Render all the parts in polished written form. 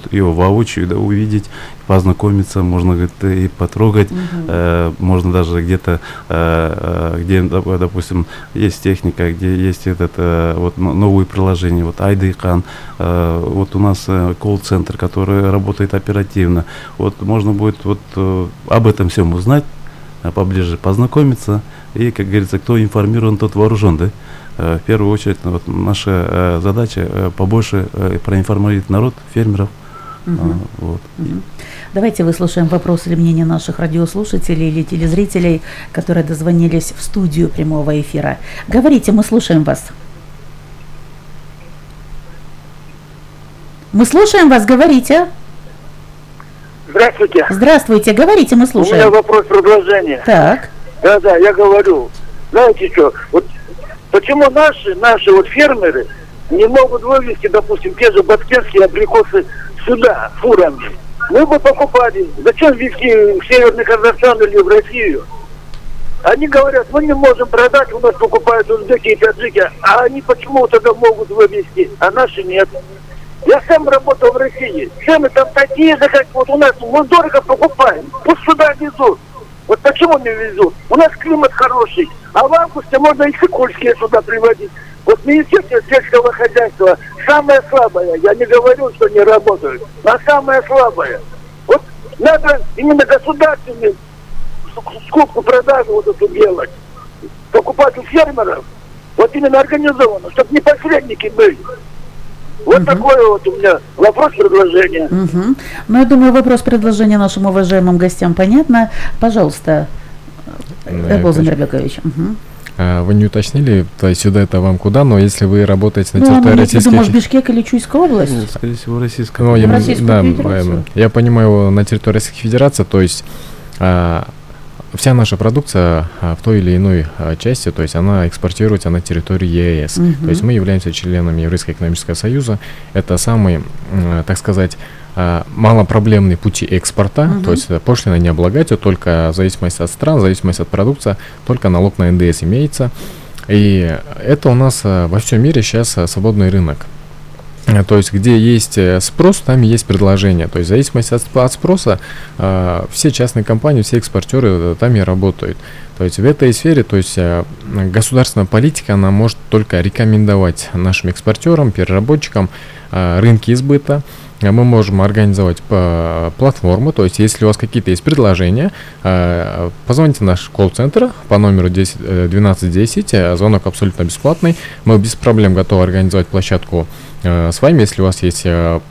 могут его воочию, да, увидеть, познакомиться, можно, говорит, и потрогать, можно даже где-то, где, допустим, есть техника, где есть вот новые приложения, вот Айдыкан, вот у нас колл-центр, который работает оперативно, вот можно будет вот об этом всем узнать, поближе познакомиться, и, как говорится, кто информирован, тот вооружен, да? В первую очередь, вот наша задача побольше проинформировать народ, фермеров. Вот. Давайте выслушаем вопрос или мнение наших радиослушателей или телезрителей, которые дозвонились в студию прямого эфира. Говорите, мы слушаем вас. Мы слушаем вас, говорите. Здравствуйте. Здравствуйте, говорите, мы слушаем. У меня вопрос предложения. Так. Да, я говорю. Знаете что, вот почему наши вот фермеры не могут вывести, допустим, те же башкирские абрикосы сюда, фурами? Мы бы покупали. Зачем везти в Северный Казахстан или в Россию? Они говорят, мы не можем продать, у нас покупают узбеки и таджики, а они почему тогда могут вывести, а наши нет. Я сам работал в России. Цены там такие же, как вот у нас. Мы дорого покупаем. Пусть сюда везут. Вот почему не везут? У нас климат хороший. А в августе можно и сыкульские сюда приводить. Вот Министерство сельского хозяйства самое слабое. Я не говорю, что не работают. Но самое слабое. Вот надо именно государственную скупку-продажу вот эту делать. Покупать у фермеров. Вот именно организованно. Чтобы не посредники были. Вот такой вот у меня вопрос-предложение. Ну, я думаю, вопрос-предложение нашим уважаемым гостям понятно. Пожалуйста, Эрбол Замирбекович. Вы не уточнили, то есть сюда это вам куда, но если вы работаете на территории Российской Федерации... Бишкек или Чуйская область? Нет, скорее всего, Российская Федерация. Я понимаю, на территории Российской Федерации, то есть вся наша продукция в той или иной части, то есть она экспортируется на территории ЕС. То есть мы являемся членами Евразийского экономического союза. Это самый, так сказать, малопроблемные пути экспорта. То есть пошлина не облагается, только в зависимости от стран, в зависимости от продукции, только налог на НДС имеется. И это у нас во всем мире сейчас свободный рынок. То есть, где есть спрос, там и есть предложение. То есть, в зависимости от спроса, все частные компании, все экспортеры там и работают. То есть, в этой сфере, то есть, государственная политика, она может только рекомендовать нашим экспортерам, переработчикам рынки сбыта. Мы можем организовать платформу, то есть, если у вас какие-то есть предложения, позвоните в наш колл-центр по номеру 1210, звонок абсолютно бесплатный. Мы без проблем готовы организовать площадку с вами, если у вас есть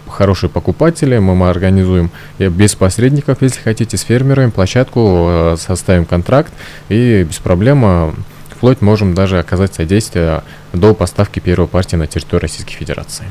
хорошие покупатели, мы организуем без посредников, если хотите, с фермерами площадку, составим контракт и без проблем вплоть можем даже оказать содействие до поставки первой партии на территорию Российской Федерации.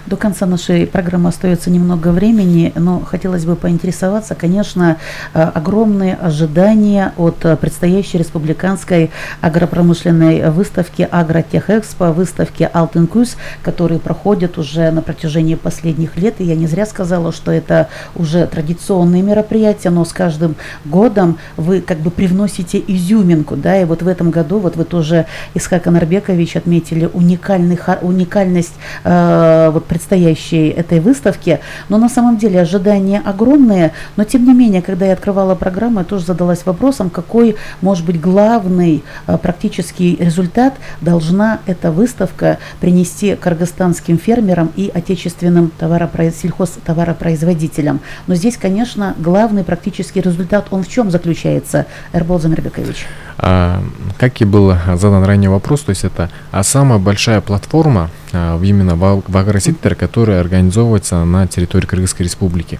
До конца нашей программы остается немного времени, но хотелось бы поинтересоваться, конечно, огромные ожидания от предстоящей республиканской агропромышленной выставки Агротехэкспо, выставки Алтын-Күз, которые проходят уже на протяжении последних лет. И я не зря сказала, что это уже традиционные мероприятия, но с каждым годом вы как бы привносите изюминку, да, и вот в этом году, вот вы тоже, Исхак Анарбекович, отметили уникальность вот предстоящей этой выставки, но на самом деле ожидания огромные, но тем не менее, когда я открывала программу, я тоже задалась вопросом, какой может быть главный практический результат должна эта выставка принести кыргызстанским фермерам и отечественным сельхозтоваропроизводителям. Но здесь, конечно, главный практический результат, он в чем заключается, Эрбол Замирбекович? Как и был задан ранее вопрос, то есть это самая большая платформа именно в агросекторе, которая организовывается на территории Кыргызской Республики.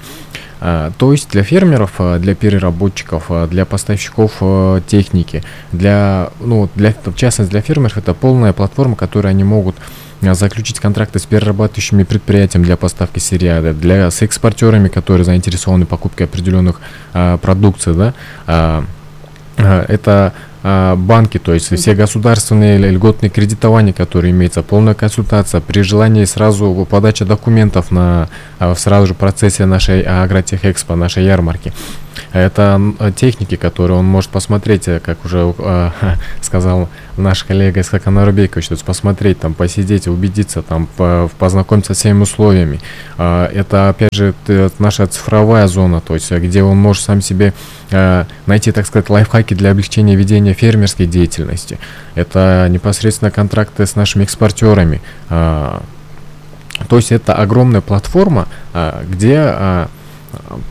То есть для фермеров, для переработчиков, для поставщиков техники, в частности для фермеров, это полная платформа, которую они могут заключить контракты с перерабатывающими предприятиями для поставки сырья, с экспортерами, которые заинтересованы в покупке определенных продукций, да. Это банки, то есть все государственные льготные кредитования, которые имеются, полная консультация, при желании сразу подача документов сразу же в процессе нашей Агротехэкспо, нашей ярмарки. Это техники, которые он может посмотреть, как уже сказал наш коллега Исхак Анарбекович, то есть посмотреть, там, посидеть, убедиться, там, познакомиться с всеми условиями. Это, опять же, наша цифровая зона, то есть где он может сам себе найти, так сказать, лайфхаки для облегчения ведения фермерской деятельности. Это непосредственно контракты с нашими экспортерами. То есть это огромная платформа, где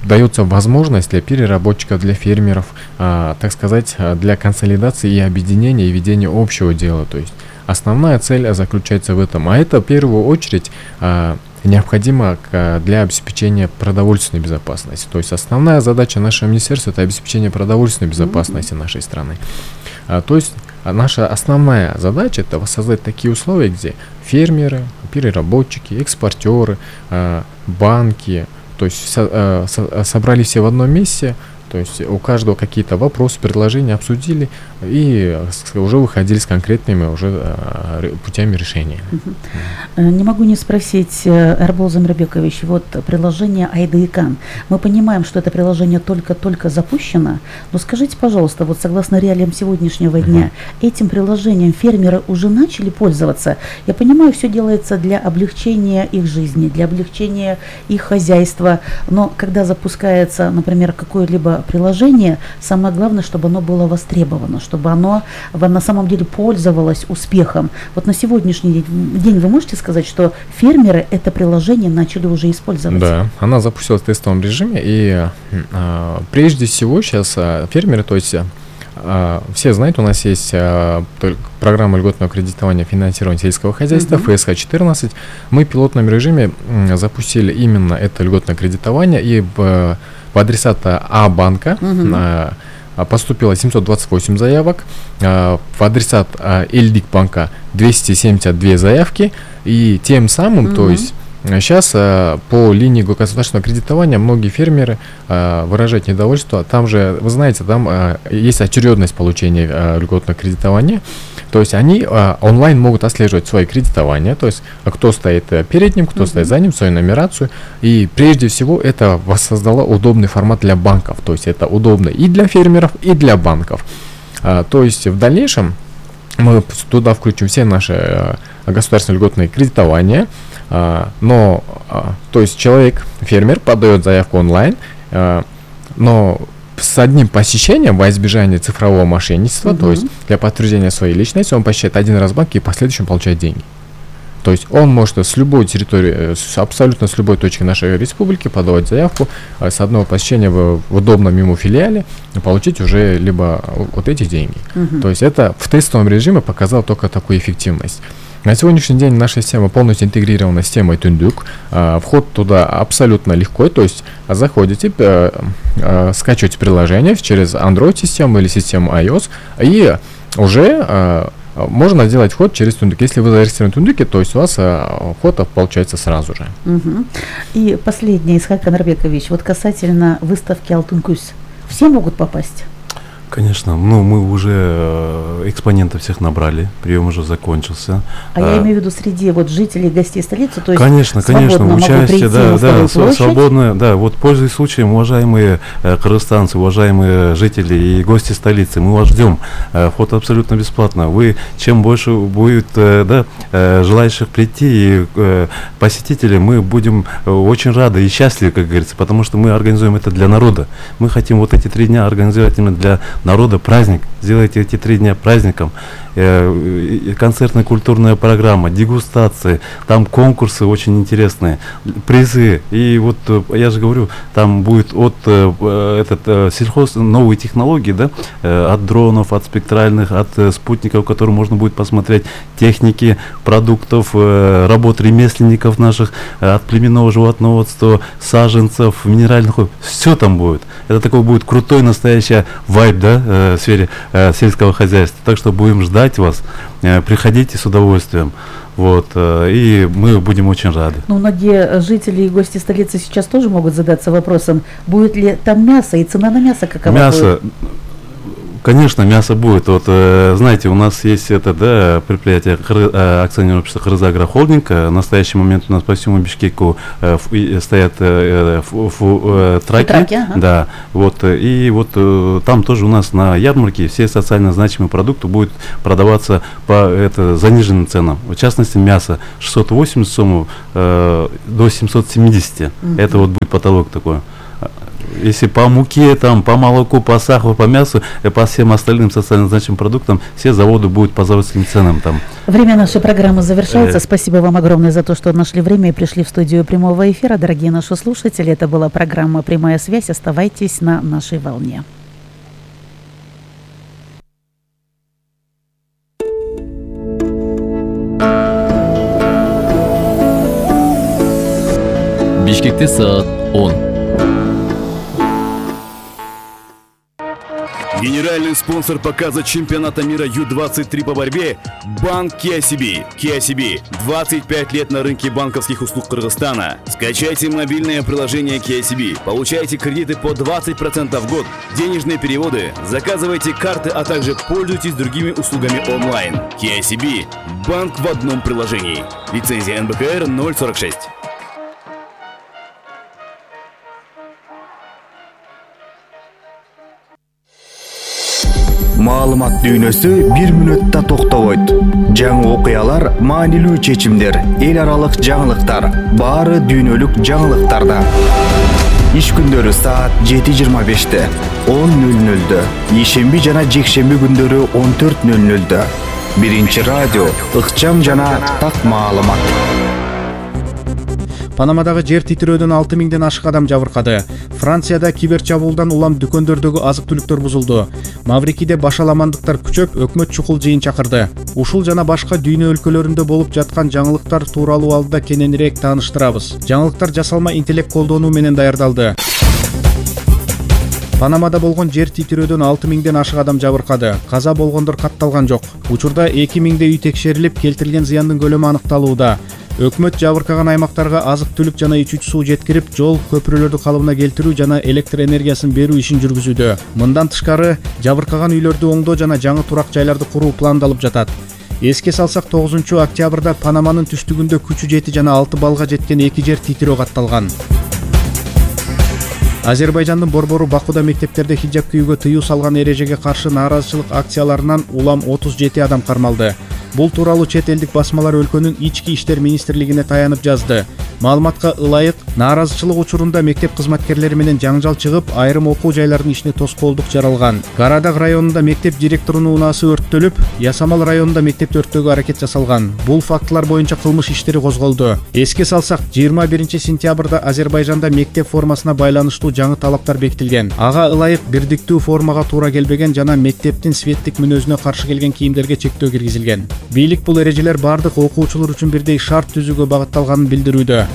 дается возможность для переработчиков, для фермеров, так сказать, для консолидации и объединения и ведения общего дела. То есть основная цель заключается в этом. А это в первую очередь необходимо для обеспечения продовольственной безопасности. То есть основная задача нашего министерства — это обеспечение продовольственной безопасности нашей страны. То есть наша основная задача — это воссоздать такие условия, где фермеры, переработчики, экспортеры, банки, то есть собрались все в одном месте, то есть у каждого какие-то вопросы, предложения обсудили и уже выходили с конкретными уже путями решения. Не могу не спросить, Эрбол Замирбекович, вот приложение Айдыикан. Мы понимаем, что это приложение только-только запущено, но скажите, пожалуйста, вот согласно реалиям сегодняшнего дня, этим приложением фермеры уже начали пользоваться? Я понимаю, все делается для облегчения их жизни, для облегчения их хозяйства, но когда запускается, например, какое-либо приложение, самое главное, чтобы оно было востребовано, чтобы оно на самом деле пользовалось успехом. Вот на сегодняшний день вы можете сказать, что фермеры это приложение начали уже использовать? Да, она запустилась в тестовом режиме, и прежде всего сейчас фермеры, то есть все знают, у нас есть программа льготного кредитования финансирования сельского хозяйства, ФСХ-14. Мы в пилотном режиме запустили именно это льготное кредитование, и по адресата А-банка поступило 728 заявок, в адресат Эльдик банка 272 заявки, и тем самым, то есть сейчас по линии государственного кредитования многие фермеры выражают недовольство. Там же, вы знаете, там есть очередность получения льготного кредитования. То есть они онлайн могут отслеживать свои кредитования, то есть кто стоит перед ним, кто стоит за ним, свою нумерацию. И прежде всего это воссоздало удобный формат для банков. То есть это удобно и для фермеров, и для банков. То есть в дальнейшем мы туда включим все наши государственные льготные кредитования. Но, то есть человек, фермер, подает заявку онлайн, но с одним посещением во избежание цифрового мошенничества, то есть для подтверждения своей личности, он посещает один раз банк и в последующем получает деньги. То есть он может с любой территории, абсолютно с любой точки нашей республики подавать заявку, с одного посещения в удобном ему филиале получить уже либо вот эти деньги. То есть это в тестовом режиме показало только такую эффективность. На сегодняшний день наша система полностью интегрирована с системой Тундук. Вход туда абсолютно легко, то есть заходите, скачиваете приложение через Android-систему или систему iOS, и уже можно сделать вход через Тундук. Если вы зарегистрированы в Тундуке, то есть у вас вход получается сразу же. И последнее, Исхак Анарбекович, вот касательно выставки Алтын-Күз. Все могут попасть? Конечно, ну мы уже экспонентов всех набрали, прием уже закончился. Я имею в виду среди вот жителей, гостей столицы, то есть конечно, участие, да, свободное, да, вот пользуясь случаем, уважаемые кыргызстанцы, уважаемые жители и гости столицы, мы вас ждем, вход абсолютно бесплатно. Вы, чем больше будет желающих прийти и посетителей, мы будем очень рады и счастливы, как говорится, потому что мы организуем это для народа. Мы хотим вот эти 3 дня организовать именно для народа праздник. Сделайте эти 3 дня праздником. Концертная культурная программа, дегустации, там конкурсы очень интересные, призы. И вот я же говорю, там будет от сельхоз новые технологии, да, от дронов, от спектральных, от спутников, которые можно будет посмотреть, техники, продуктов, работ ремесленников наших, от племенного животноводства, саженцев, минеральных, все там будет. Это такой будет крутой настоящий вайб, да, в сфере сельского хозяйства. Так что будем ждать вас, приходите с удовольствием, вот, и мы будем очень рады. Ну, многие жители и гости столицы сейчас тоже могут задаться вопросом, будет ли там мясо и цена на мясо какова мясо, будет? Конечно, мясо будет. Вот, знаете, у нас есть предприятие акционерное общество «Кыргызагрохолдинг». В настоящий момент у нас по всему Бишкеку стоят траки. Да, вот, и вот там тоже у нас на ярмарке все социально значимые продукты будут продаваться по заниженным ценам. В частности, мясо 680 сомов до 770. Это вот будет потолок такой. Если по муке, там, по молоку, по сахару, по мясу, и по всем остальным социально значимым продуктам, все заводы будут по заводским ценам там. Время нашей программы завершается. Спасибо вам огромное за то, что нашли время и пришли в студию прямого эфира. Дорогие наши слушатели, это была программа «Прямая связь». Оставайтесь на нашей волне. Бишкекте саат 10. Генеральный спонсор показа чемпионата мира Ю-23 по борьбе – Банк KCB. KCB – 25 лет на рынке банковских услуг Кыргызстана. Скачайте мобильное приложение KCB, получайте кредиты по 20% в год, денежные переводы, заказывайте карты, а также пользуйтесь другими услугами онлайн. KCB – банк в одном приложении. Лицензия НБКР 046. Маалымат дүйнөсү бир мүнөттө токтобойт. Жаңы окуялар, маанилүү чечимдер, эл аралык жаңылыктар, баары дүйнөлүк жаңылыктарда. Иш күндөрү саат 7:25, 10:00, ишемби жана жекшемби күндөрү 14:00. Биринчи радио, ыкчам жана так маалымат. Панамадагы жер титирөөдөн 6000ден ашык адам жабыркады. Францияда кибер чабуулдан улам дүкөндөрдөгү азык-түлүктөр бузулду. Маврикиде башаламандыктар күчөп, өкмөт чукул жыйын чакырды. Ушул жана башка дүйнө өлкөлөрүндө болуп жаткан жаңылыктар тууралуу алдыда кененирээк тааныштырабыз. Жаңылыктар жасалма интеллект колдонуу менен даярдалды. Панамада болгон жер титирөөдөн 6000ден ашык адам жабыркады. Каза болгондор катталган жок. Учурда 2000 үй текшерилип, келтирилген зыяндын көлөмү аныкталууда. Өкмөт жабыркаган аймактарга азык-түлүк жана ичүүчү суу жеткирип, жол, көпүрөлөрдү калыбына келтирүү жана электр энергиясын берүү ишин жүргүзүүдө. Мындан тышкары, жабыркаган үйлөрдү оңдоо жана жаңы турак жайларды куруу пландалып жатат. Эске салсак, 9 октябрда Панаманын түштүгүндө күчү 7 жана 6 балга жеткен 2 жер титирөө катталган. Азербайжандын борбору Бакуда мектептерде хиджаб кийүүгө тыюу салган эрежеге каршы нааразычылык акцияларынан улам 37 адам кармалды. Бул тууралуу чет элдик басмалар өлкөнүн ички иштер министрлигине таянып жазды. Маалыматка ылайык, нааразычылык учурунда мектеп кызматкерлери менен жаңжал чыгып, айрым окуу жайларынын ишине тоскоолдук жаралган. Карадаг районунда мектеп директорунун унаасы өрттөлүп, Ясамал районунда мектепти өрттөөгө аракет жасалган. Бул фактылар боюнча кылмыш иштери козголду. Эске салсак, 21 сентябрда Азербайжанда мектеп формасына байланыштуу жаңы талаптар бекитилген. Ага ылайык бирдиктүү формага туура келбеген жана мектептин светтик мүнөзүнө каршы келген кийимдерге чектөө киргизилген. Бийлик бул эрежелер бардык окуучулар үчүн бирдей шарт түзүүгө багытталганын билдирүүдө.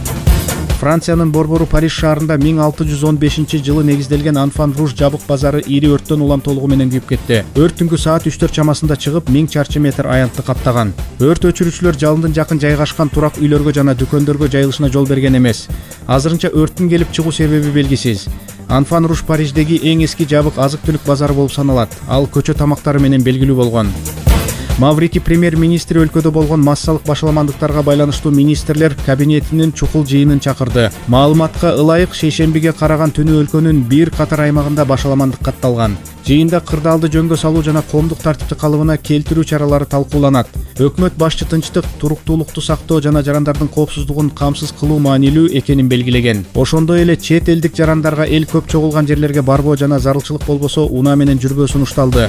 Франциянын борбору Париж шаарында 1615-жылы негизделген Анфан Руж жабык базары ири өрттөн улам толугу менен күйүп кетти. Өрт түнкү саат 3-4 чамасында чыгып, 1000 чарчы метр аянтты каптаган. Өрт өчүрүүчүлөр жалындын жакын жайгашкан турак үйлөргө жана дүкөндөргө жайылышына жол берген эмес. Азырынча өрттүн келип чыгуу себеби белгисиз. Анфан Руж Париждеги эң эски жабык азык-түлүк базары болуп саналат. Ал көчө тамактары менен белгилүү болгон. Маврики премьер-министри өлкөдө болгон массалык башаламандыктарга байланыштуу министрлер кабинетинин чукул жыйынын чакырды. Маалыматка ылайык, шейшембиге караган түнү өлкөнүн бир катар аймагында башаламандык катталган. Жыйында кырдаалды жөнгө салуу жана коомдук тартипти калыбына келтирүү чаралары талкууланат. Өкмөт башчы тынчтык, туруктуулукту сактоо жана жарандардын коопсуздугун камсыз кылуу маанилүү экенин белгилеген. Ошондой эле чет элдик жарандарга эл көп чогулган жерлерге барбоо жана зарылчылык болбосо унаа менен жүрбөө сунушталды.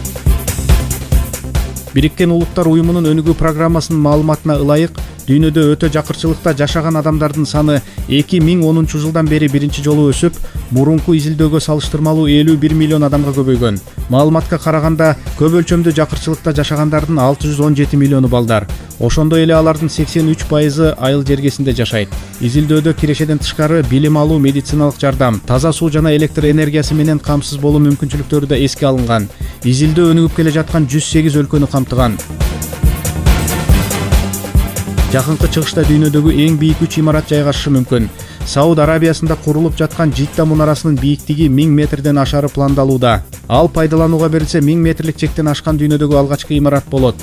Бириккен Улуттар уюмунун өнүгүү программасынын маалыматына ылайык, дүйнөдө өтө жакырчылыкта жашаган адамдардын саны 2010 жылдан бери биринчи жолу өсүп, мурунку изилдөөгө салыштырмалуу 51 миллион адамга көбөйгөн. Маалыматка караганда, көп өлчөмдө жакырчылыкта жашагандардын 617 миллиону балдар. Ошондой эле алардын 83% айыл жергесинде жашайт. Изилдөөдө кирешеден тышкары билим алуу, медициналык жардам, таза суу жана электр энергиясы менен камсыз болуу мүмкүнчүлүктөрү да эске алынган. Изилдөө өнүгүп келе жаткан 108 өлкөнү камтыган. Жакынкы чыгышта дүйнөдөгү эң бийик 3 имарат жайгашышы мүмкүн. Сауд Арабиясында курулуп жаткан Жидда мунарасынын бийиктиги 1000 метрден ашары пландалууда. Ал пайдаланууга берилсе 1000 метрлик чектен ашкан дүйнөдөгү алгачкы имарат болот.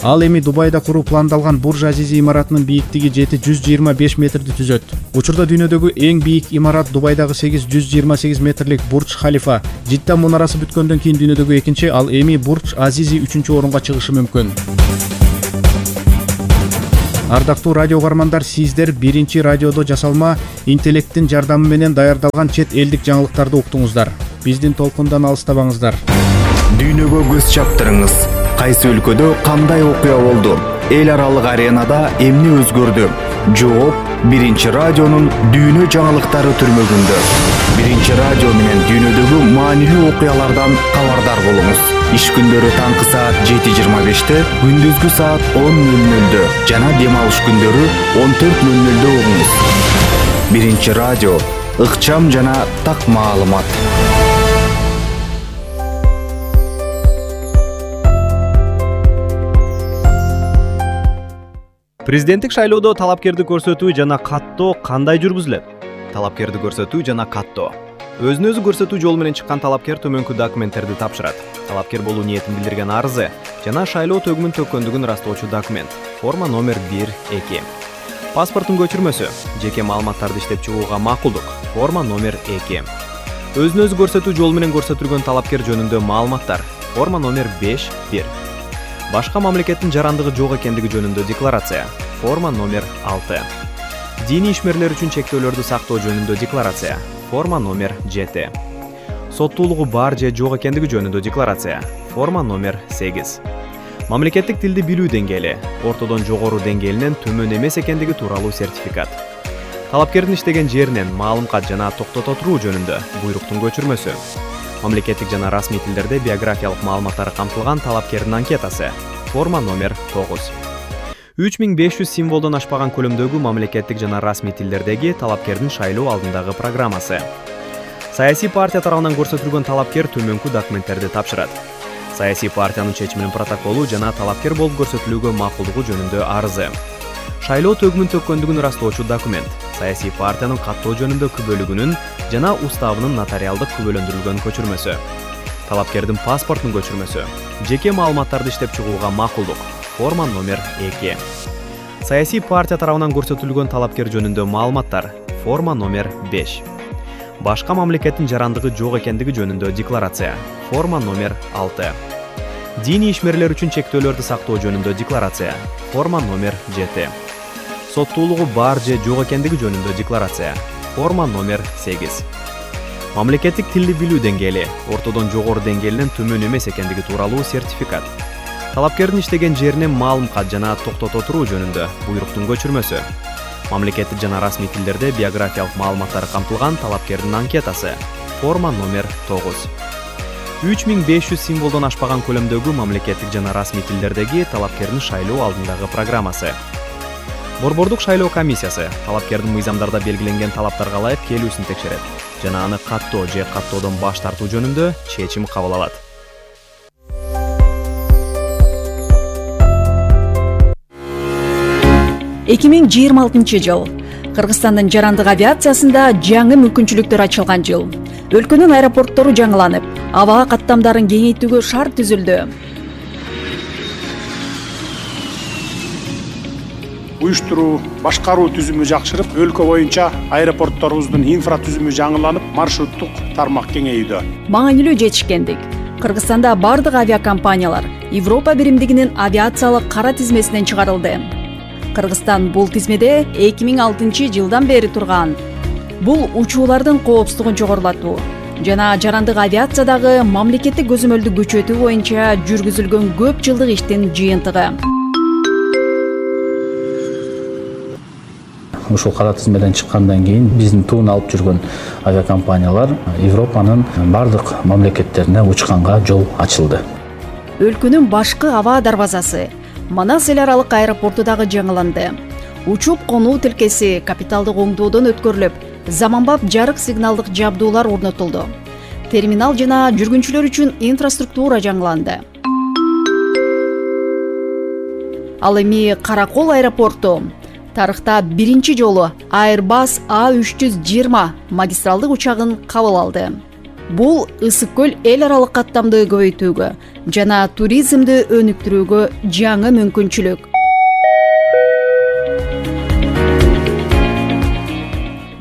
Ал эми Дубайда куруу пландалган Бурж Азизи имаратынын бийиктиги 725 метрди түзөт. Учурда дүйнөдөгү эң бийик имарат Дубайдагы 828 метрлик Бурж Халифа. Жидда мунарасы бүткөндөн кийин дүйнөдөгү экинчи, ал эми Бурж Азизи 3-чү орунга чыгышы мүмкүн. Ардактуу радио угармандар, сиздер биринчи радиодо жасалма интеллекттин жардамы менен даярдалган чет элдик жаңылыктарды уктуңуздар. Биздин толкундан алыстабаңыздар. Дүйнөгө көз чаптырыңыз. Кайсы өлкөдө кандай окуя болду? Эл аралык аренада эмне өзгөрдү? Жооп биринчи радионун дүйнө жаңылыктары түрмөгүндө. Биринчи радио менен дүйнөдөгү маанилүү окуялардан кабардар болуңуз. Иш күндөрү таңкы саат 7:25-те, күндүзгү саат 10:00-дө жана дем алыш күндөрү 14:00-дө угуңуз. Биринчи радио, ыкчам жана так маалымат. Президенттик шайлоодо талапкерди көрсөтүү жана каттоо кандай жүргүзүлөт? Талапкерди көрсөтүү жана каттоо. Өзүн өзү көрсөтүү жолу менен чыккан талапкер төмөнкү документтерди тапшырат. Талапкер болуу ниетин билдирген арызы жана шайлоо төгүмүн төккөндүгүн ырастоочу документ. Форма номер 1-2. Паспорттун көчүрмөсү, жеке маалыматтарды иштеп чыгууга макулдук. Форма номер 2. Өзүн өзү көрсөтүү жолу менен көрсөтүлгөн талапкер жөнүндө маалыматтар. Форма номер 5-1. Башка мамлекеттин жарандыгы жок экендиги жөнүндө декларация. Форма номер 6. Диний ишмерлер үчүн чектөөлөрдү сактоо жөнүндө декларация. Форма номер 7. Соттуулугу бар же жок экендиги жөнүндө декларация. Форма номер 8. Мамлекеттик тилди билүү деңгээли, ортодон жогору деңгээлинен төмөн эмес экендиги тууралуу сертификат. Талапкердин иштеген жеринен маалым кат жана токтото туруу жөнүндө буйруктун көчүрмөсү. Мамлекеттик жана расмий тилдерде биографиялык маалыматтары камтылган талапкердин анкетасы. Форма номер 9. 3500 символдон ашпаган көлөмдөгү мамлекеттик жана расмий тилдердеги талапкердин шайлоо алдындагы программасы. Саясий партия тарабынан көрсөтүлгөн талапкер төмөнкү документтерди тапшырат. Саясий партиянын чечиминин протоколу жана талапкер болуп көрсөтүлүүгө макулдугу жөнүндө арызы. Шайлоо төгүмүн төккөндүгүн ырастоочу документ. Саясий партиянын каттоо жөнүндө күбөлүгүнүн жана уставынын нотариалдык күбөлөндүрүлгөн көчүрмөсү. Талапкердин паспортунун көчүрмөсү. Жеке маалыматтарды иштеп чыгууга макулдук. Форма номер 2. Саясий партия тарабынан көрсөтүлгөн талапкер жөнүндө маалыматтар. Форма номер 5. Башка мамлекеттин жарандыгы жок экендиги жөнүндө декларация. Форма номер 6. Диний ишмерлер үчүн чектөөлөрдү сактоо жөнүндө декларация. Форма номер 7. Соттуулугу бар же жок экендиги жөнүндө декларация. Форма номер 8. Мамлекеттик тилди билүү деңгээли, ортодон жогору деңгээлинен төмөн эмес экендиги тууралуу сертификат. Талапкердин иштеген жеринен маалым кат жана токтото туруу жөнүндө буйруктун көчүрмөсү. Мамлекеттик жана расмий тилдерде биографиялык маалыматтары камтылган талапкердин анкетасы. Форма номер 9. 3500 символдон ашпаган көлөмдөгү мамлекеттик жана расмий тилдердеги талапкердин шайлоо алдындагы программасы. Борбордук шайлоо комиссиясы талапкердин мыйзамдарда белгиленген талаптарга ылайык келүүсүн текшерет жана аны каттоо же каттоодон баш тартуу жөнүндө чечим кабыл алат. жыл Кыргызстандын жарандык авиациясында жаңы мүмкүнчүлүктөр ачылган жыл. Өлкөнүн аэропорттору жаңыланып, аба каттамдарын кеңейтүүгө шарт түзүлдү. Уюштуруу, башкаруу түзүмү жакшырып, өлкө боюнча аэропортторубуздун инфратүзүмү жаңыланып, маршруттук тармак кеңейүүдө. Маанилүү жетишкендик. Кыргызстанда бардык авиакомпаниялар Европа биримдигинин авиациялык кара тизмесинен чыгарылды. Кыргызстан бул тизмеде 2006 жылдан бери турган. Бул учуулардын коопсуздугун жогорулатуу жана жарандык авиациядагы мамлекеттик көзөмөлдү күчөтүү боюнча жүргүзүлгөн көп жылдык иштин жыйынтыгы. Ушул кара тизмеден чыккандан кийин биздин туун алып жүргөн авиакомпаниялар Европанын бардык мамлекеттерине учканга жол ачылды. Өлкөнүн башкы аба дарбазасы Манас эл аралык аэропорту дагы жаңыланды. Учуп конуу тилкеси капиталдык оңдоодон өткөрүлүп, заманбап жарык сигналдык жабдуулар орнотулду. Терминал жана жүргүнчүлөр үчүн инфраструктура жаңыланды. Ал эми Каракол аэропорту тарыхта биринчи жолу Airbus A320 магистралдык учагын кабыл алды. Бул ысык көл эл аралык каттамды көбөйтүүгө жана туризмди өнүктүрүүгө жаңы мүмкүнчүлүк.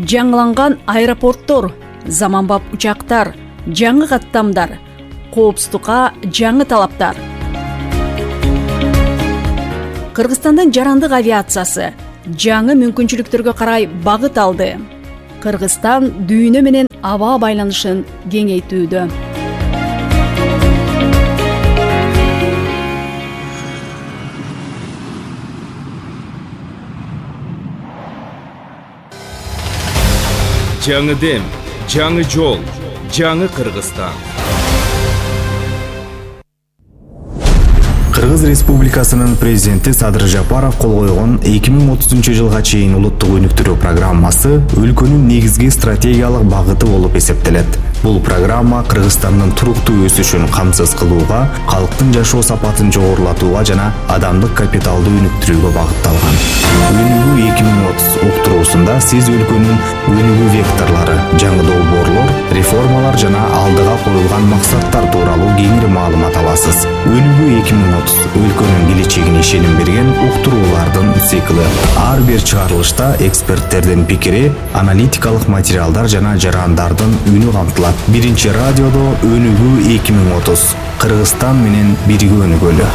Жаңыланган аэропорттор, заманбап учактар, жаңы каттамдар, коопсуздукка жаңы талаптар. Кыргызстандын жарандык авиациясы жаңы мүмкүнчүлүктөргө карай багыт алды. Кыргызстан дүйнө менен аба байланышын кеңейтүүдө. Жаңы дем, жаңы жол, жаңы Кыргызстан. Кыргыз Республикасынын президенти Садыр Жапаров кол койгон 2030-жылга чейин улуттук өнүктүрүү программасы өлкөнүн негизги стратегиялык багыты болуп эсептелет. Бул программа Кыргызстандын туруктуу өсүшүн камсыз кылууга, калктын жашоо сапатын жогорулатууга жана адамдык капиталды өнүктүрүүгө багытталган. Өнүгүү 2030 уктуруусунда сиз өлкөнүн өнүгүү векторлору, жаңы долбоорлор, реформалар жана алдыга коюлган максаттар тууралуу кеңири маалымат аласыз. Өнүгүү 2030 өлкөнүн келечегине ишеним берген уктуруулардын цикли. Ар бир чыгарылышта эксперттердин пикири, аналитикалык материалдар жана жарандардын үнү камтылат. Биринчи радиодо Өнүгүү 2030. Кыргызстан менен бирге өнүгөлү.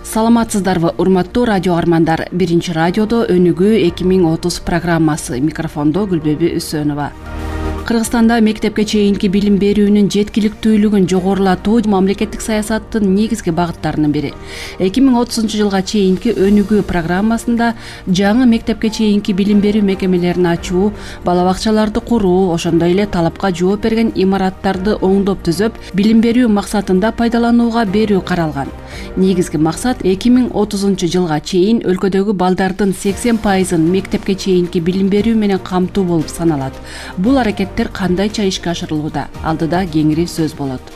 Саламатсыздарбы, урматтуу радио армандар. Биринчи радиодо Өнүгүү 2030 программасы. Микрофондо Гүлбеби Үсөнова. Кыргызстанда мектепке чейинки билим берүүнүн жеткиликтүүлүгүн жогорулатуу мамлекеттик саясаттын негизги багыттарынын бири. 2030-жылга чейинки өнүгүү программасында жаңы мектепке чейинки билим берүү мекемелерин ачуу, бала бакчаларды куруу, ошондой эле талапка жооп берген имараттарды оңдоп түзөп, билим берүү максатында пайдаланууга берүү каралган. Негизги максат 2030-жылга чейин өлкөдөгү балдардын 80%-ын мектепке чейинки билим берүү менен камтуу болуп саналат. Бул аракеттер кандайча ишке ашырылууда? Алдыда кеңири сөз болот.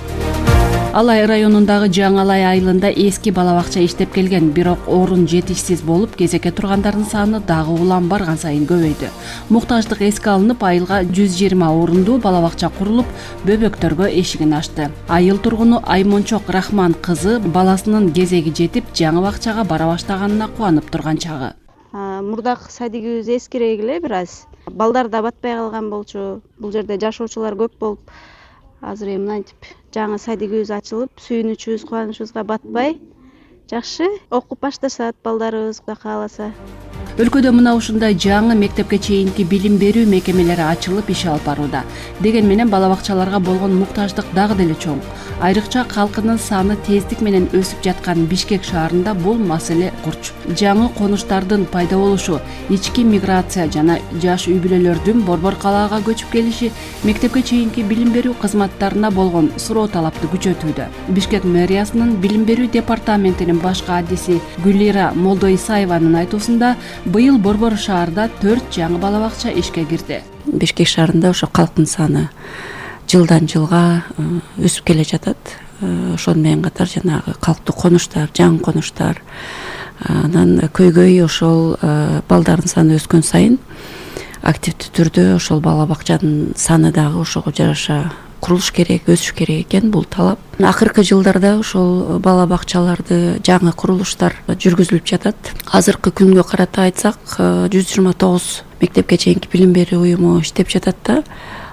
Алай районундагы Жаңалай айылында эски бала бакча иштеп келген, бирок орун жетишсиз болуп, кезекке тургандардын саны дагы улам барган сайын көбөйдү. Муктаждык эске алынып, айылга 120 орундуу бала бакча курулуп, бөбөктөргө эшигин ачты. Айыл тургуну Аймончок Рахман кызы баласынын кезеги жетип, жаңы бакчага бара баштаганына кубанып турган чагы. Мурдакы садигибиз эскирейик эле бир аз. Балдар да батпай калган болчу. Бул жерде жашоочулар көп болуп, азыр эми мынтип жаңы садигибиз ачылып, сүйүнүчүбүз, кубанычыбызга батпай, жакшы окуп башташат балдарыбыз, Кудай кааласа. Өлкөдө мына ушундай жаңы мектепке чейинки билим берүү мекемелери ачылып иш алып барууда. Деген менен бала бакчаларга болгон муктаждык дагы деле чоң. Айрыкча калкынын саны тездик менен өсүп жаткан Бишкек шаарында бул маселе курч. Жаңы конуштардын пайда болушу, ички миграция жана жаш үй бүлөлөрдүн борбор калаага көчүп келиши мектепке чейинки билим берүү кызматтарына болгон суроо талапты күчөтүүдө. Бишкек мэриясынын билим берүү департаментинин баш кадиси Гүлира Молдоисаеванын айтуусунда, быйыл борбор шаарда 4 жаңы бала бакча ишке кирди. Бишкек шаарында ошо калктын саны жылдан жылга өсүп келе жатат. Ошону менен катар жанагы калктуу конуштар, жаңы конуштар, анан көйгөй ошол балдардын саны өскөн сайын активдүү түрдө ошол бала бакчанын саны дагы ошого жараша курулуш керек, өсүш керек экен, бул талап. Акыркы жылдарда ошол бала бакчаларды жаңы курулуштар жүргүзүлүп жатат. Азыркы күнгө карата айтсак, 129 мектепке чейинки билим берүү уюму иштеп жатат да,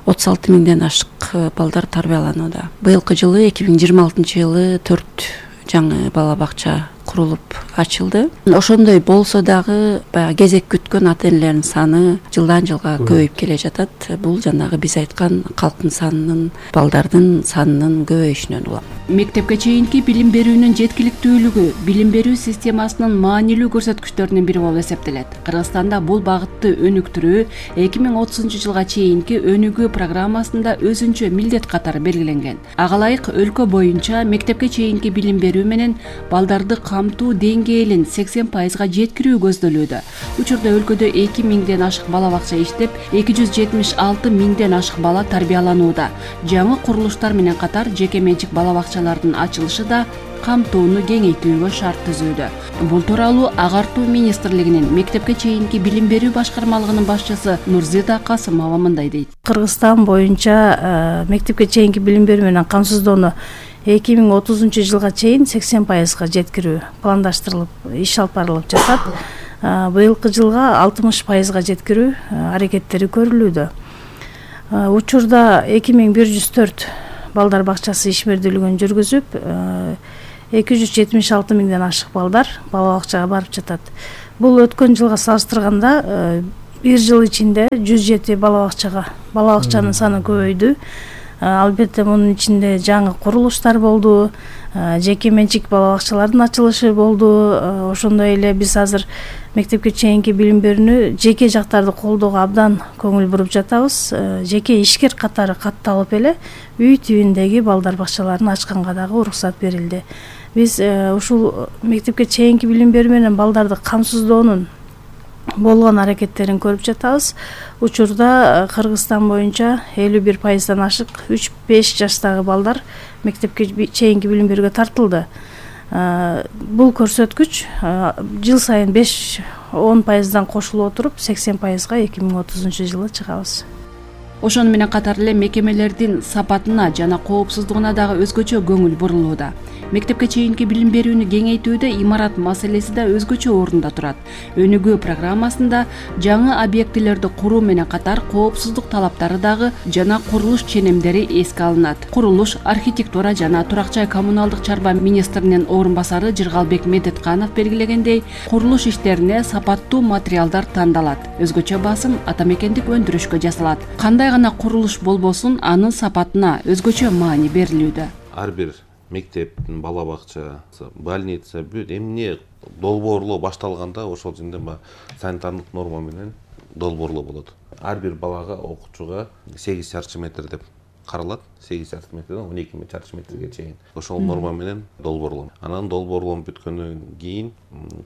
36 миңден ашык балдар тарбияланууда. Быйылкы жылы 2026 жылы 4 жаңы бала бакча курулуп ачылды. Ошондой болсо дагы баягы кезек күткөн ата энелердин саны жылдан жылга көбөйүп келе жатат. Бул жанагы биз айткан калктын санынын, балдардын санынын көбөйүшүнөн улам. Мектепке чейинки билим берүүнүн жеткиликтүүлүгү билим берүү системасынын маанилүү көрсөткүчтөрүнүн бири болуп эсептелет. Кыргызстанда бул багытты өнүктүрүү 2030-жылга чейинки өнүгүү программасында өзүнчө милдет катары белгиленген. Ага ылайык өлкө боюнча мектепке чейинки билим берүү менен балдарды камтуу деңгээлин 80%га жеткирүү көздөлүүдө. Учурда өлкөдө 2 миңден ашык бала бакча иштеп, 276 миңден ашык бала тарбияланууда. Жаңы курулуштар менен катар жеке менчик бала бакчалардын ачылышы да камтууну кеңейтүүгө шарт түзүүдө. Бул тууралуу Агартуу министрлигинин мектепке чейинки билим берүү башкармалыгынын башчысы Нурзида Касымова мындай дейт. Кыргызстан боюнча мектепке чейинки билим берүү менен камсыздоону 2030 жылга чейин 80%га жеткирүү пландаштырылып, иш алып барылып жатат. Быйылкы жылга 60%га жеткирүү аракеттери көрүлүүдө. Учурда 2104 балдар бакчасы ишмердүүлүгүн жүргүзүп, 276 миңден ашык балдар бала бакчага барып жатат. Бул өткөн жылга салыштырганда бир жыл ичинде 107 бала бакчанын саны көбөйдү. Албетте мунун ичинде жаңы курулуштар болду, жеке менчик бала бакчалардын ачылышы болду. Ошондой эле биз азыр мектепке чейинки билим берүүнү жеке жактарды колдоого абдан көңүл буруп жатабыз. Жеке ишкер катары катталып эле үй түбүндөгү балдар бакчаларын ачканга дагы уруксат берилди. Биз ушул мектепке чейинки билим берүү менен балдарды камсыздоонун болгон аракеттерин көрүп жатабыз. Учурда Кыргызстан боюнча 51%дан ашык 3-5 жаштагы балдар мектепке чейинки билим берүүгө тартылды. Бул көрсөткүч жыл сайын 5-10%дан кошулуп отуруп 80%га 2030 жылы чыгабыз. Ошону менен катар эле мекемелердин сапатына жана коопсуздугуна дагы өзгөчө көңүл бурулууда. Мектепке чейинки билим берүүнү кеңейтүүдө имарат маселеси да өзгөчө орунда турат. Өнүгүү программасында жаңы объектилерди куруу менен катар коопсуздук талаптары дагы жана курулуш ченемдери эске алынат. Курулуш, архитектура жана турак жай коммуналдык чарба министринин орун басары Жыргалбек Медетканов белгилегендей, курулуш иштерине сапаттуу материалдар тандалат. Өзгөчө басым атамекендик өндүрүшкө жасалат. Кандай гана курулуш болбосун, анын сапатына өзгөчө маани берилүүдө. Ар бир мектеп, бала бакча, больница, бүт эмне долбоорлоо башталганда ошол жерде санитардык норма менен долбоорлоо болот. Ар бир балага, окуучуга 8 чарчы метр деп каралат. 8 чарчы метрден 12 чарчы метрге чейин. Ошол норма менен долбоорлоо. Анан долбоорлоо бүткөндөн кийин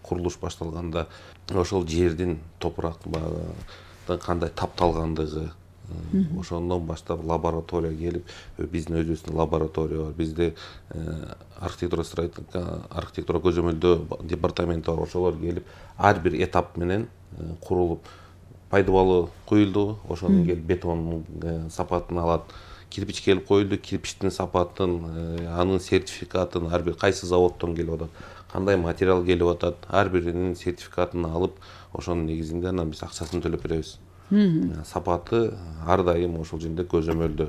курулуш башталганда ошол жердин кандай тапталгандыгы, ошондон баштап лаборатория келип, биздин өзүбүздүн лаборатория бар, бизде архитектура көзөмөлдөө департаменти бар, ошолор келип ар бир этап менен курулуп, пайдубалы куюлду, ошондон келип бетондун сапатын алат, кирпич келип коюлду, кирпичтин сапатын, анын сертификатын, ар бир кайсы заводдон келип атат, кандай материал келип атат, ар биринин сертификатын алып, ошонун негизинде анан биз акчасын төлөп беребиз. Сапаты ар дайым ошол жерде көзөмөлдө,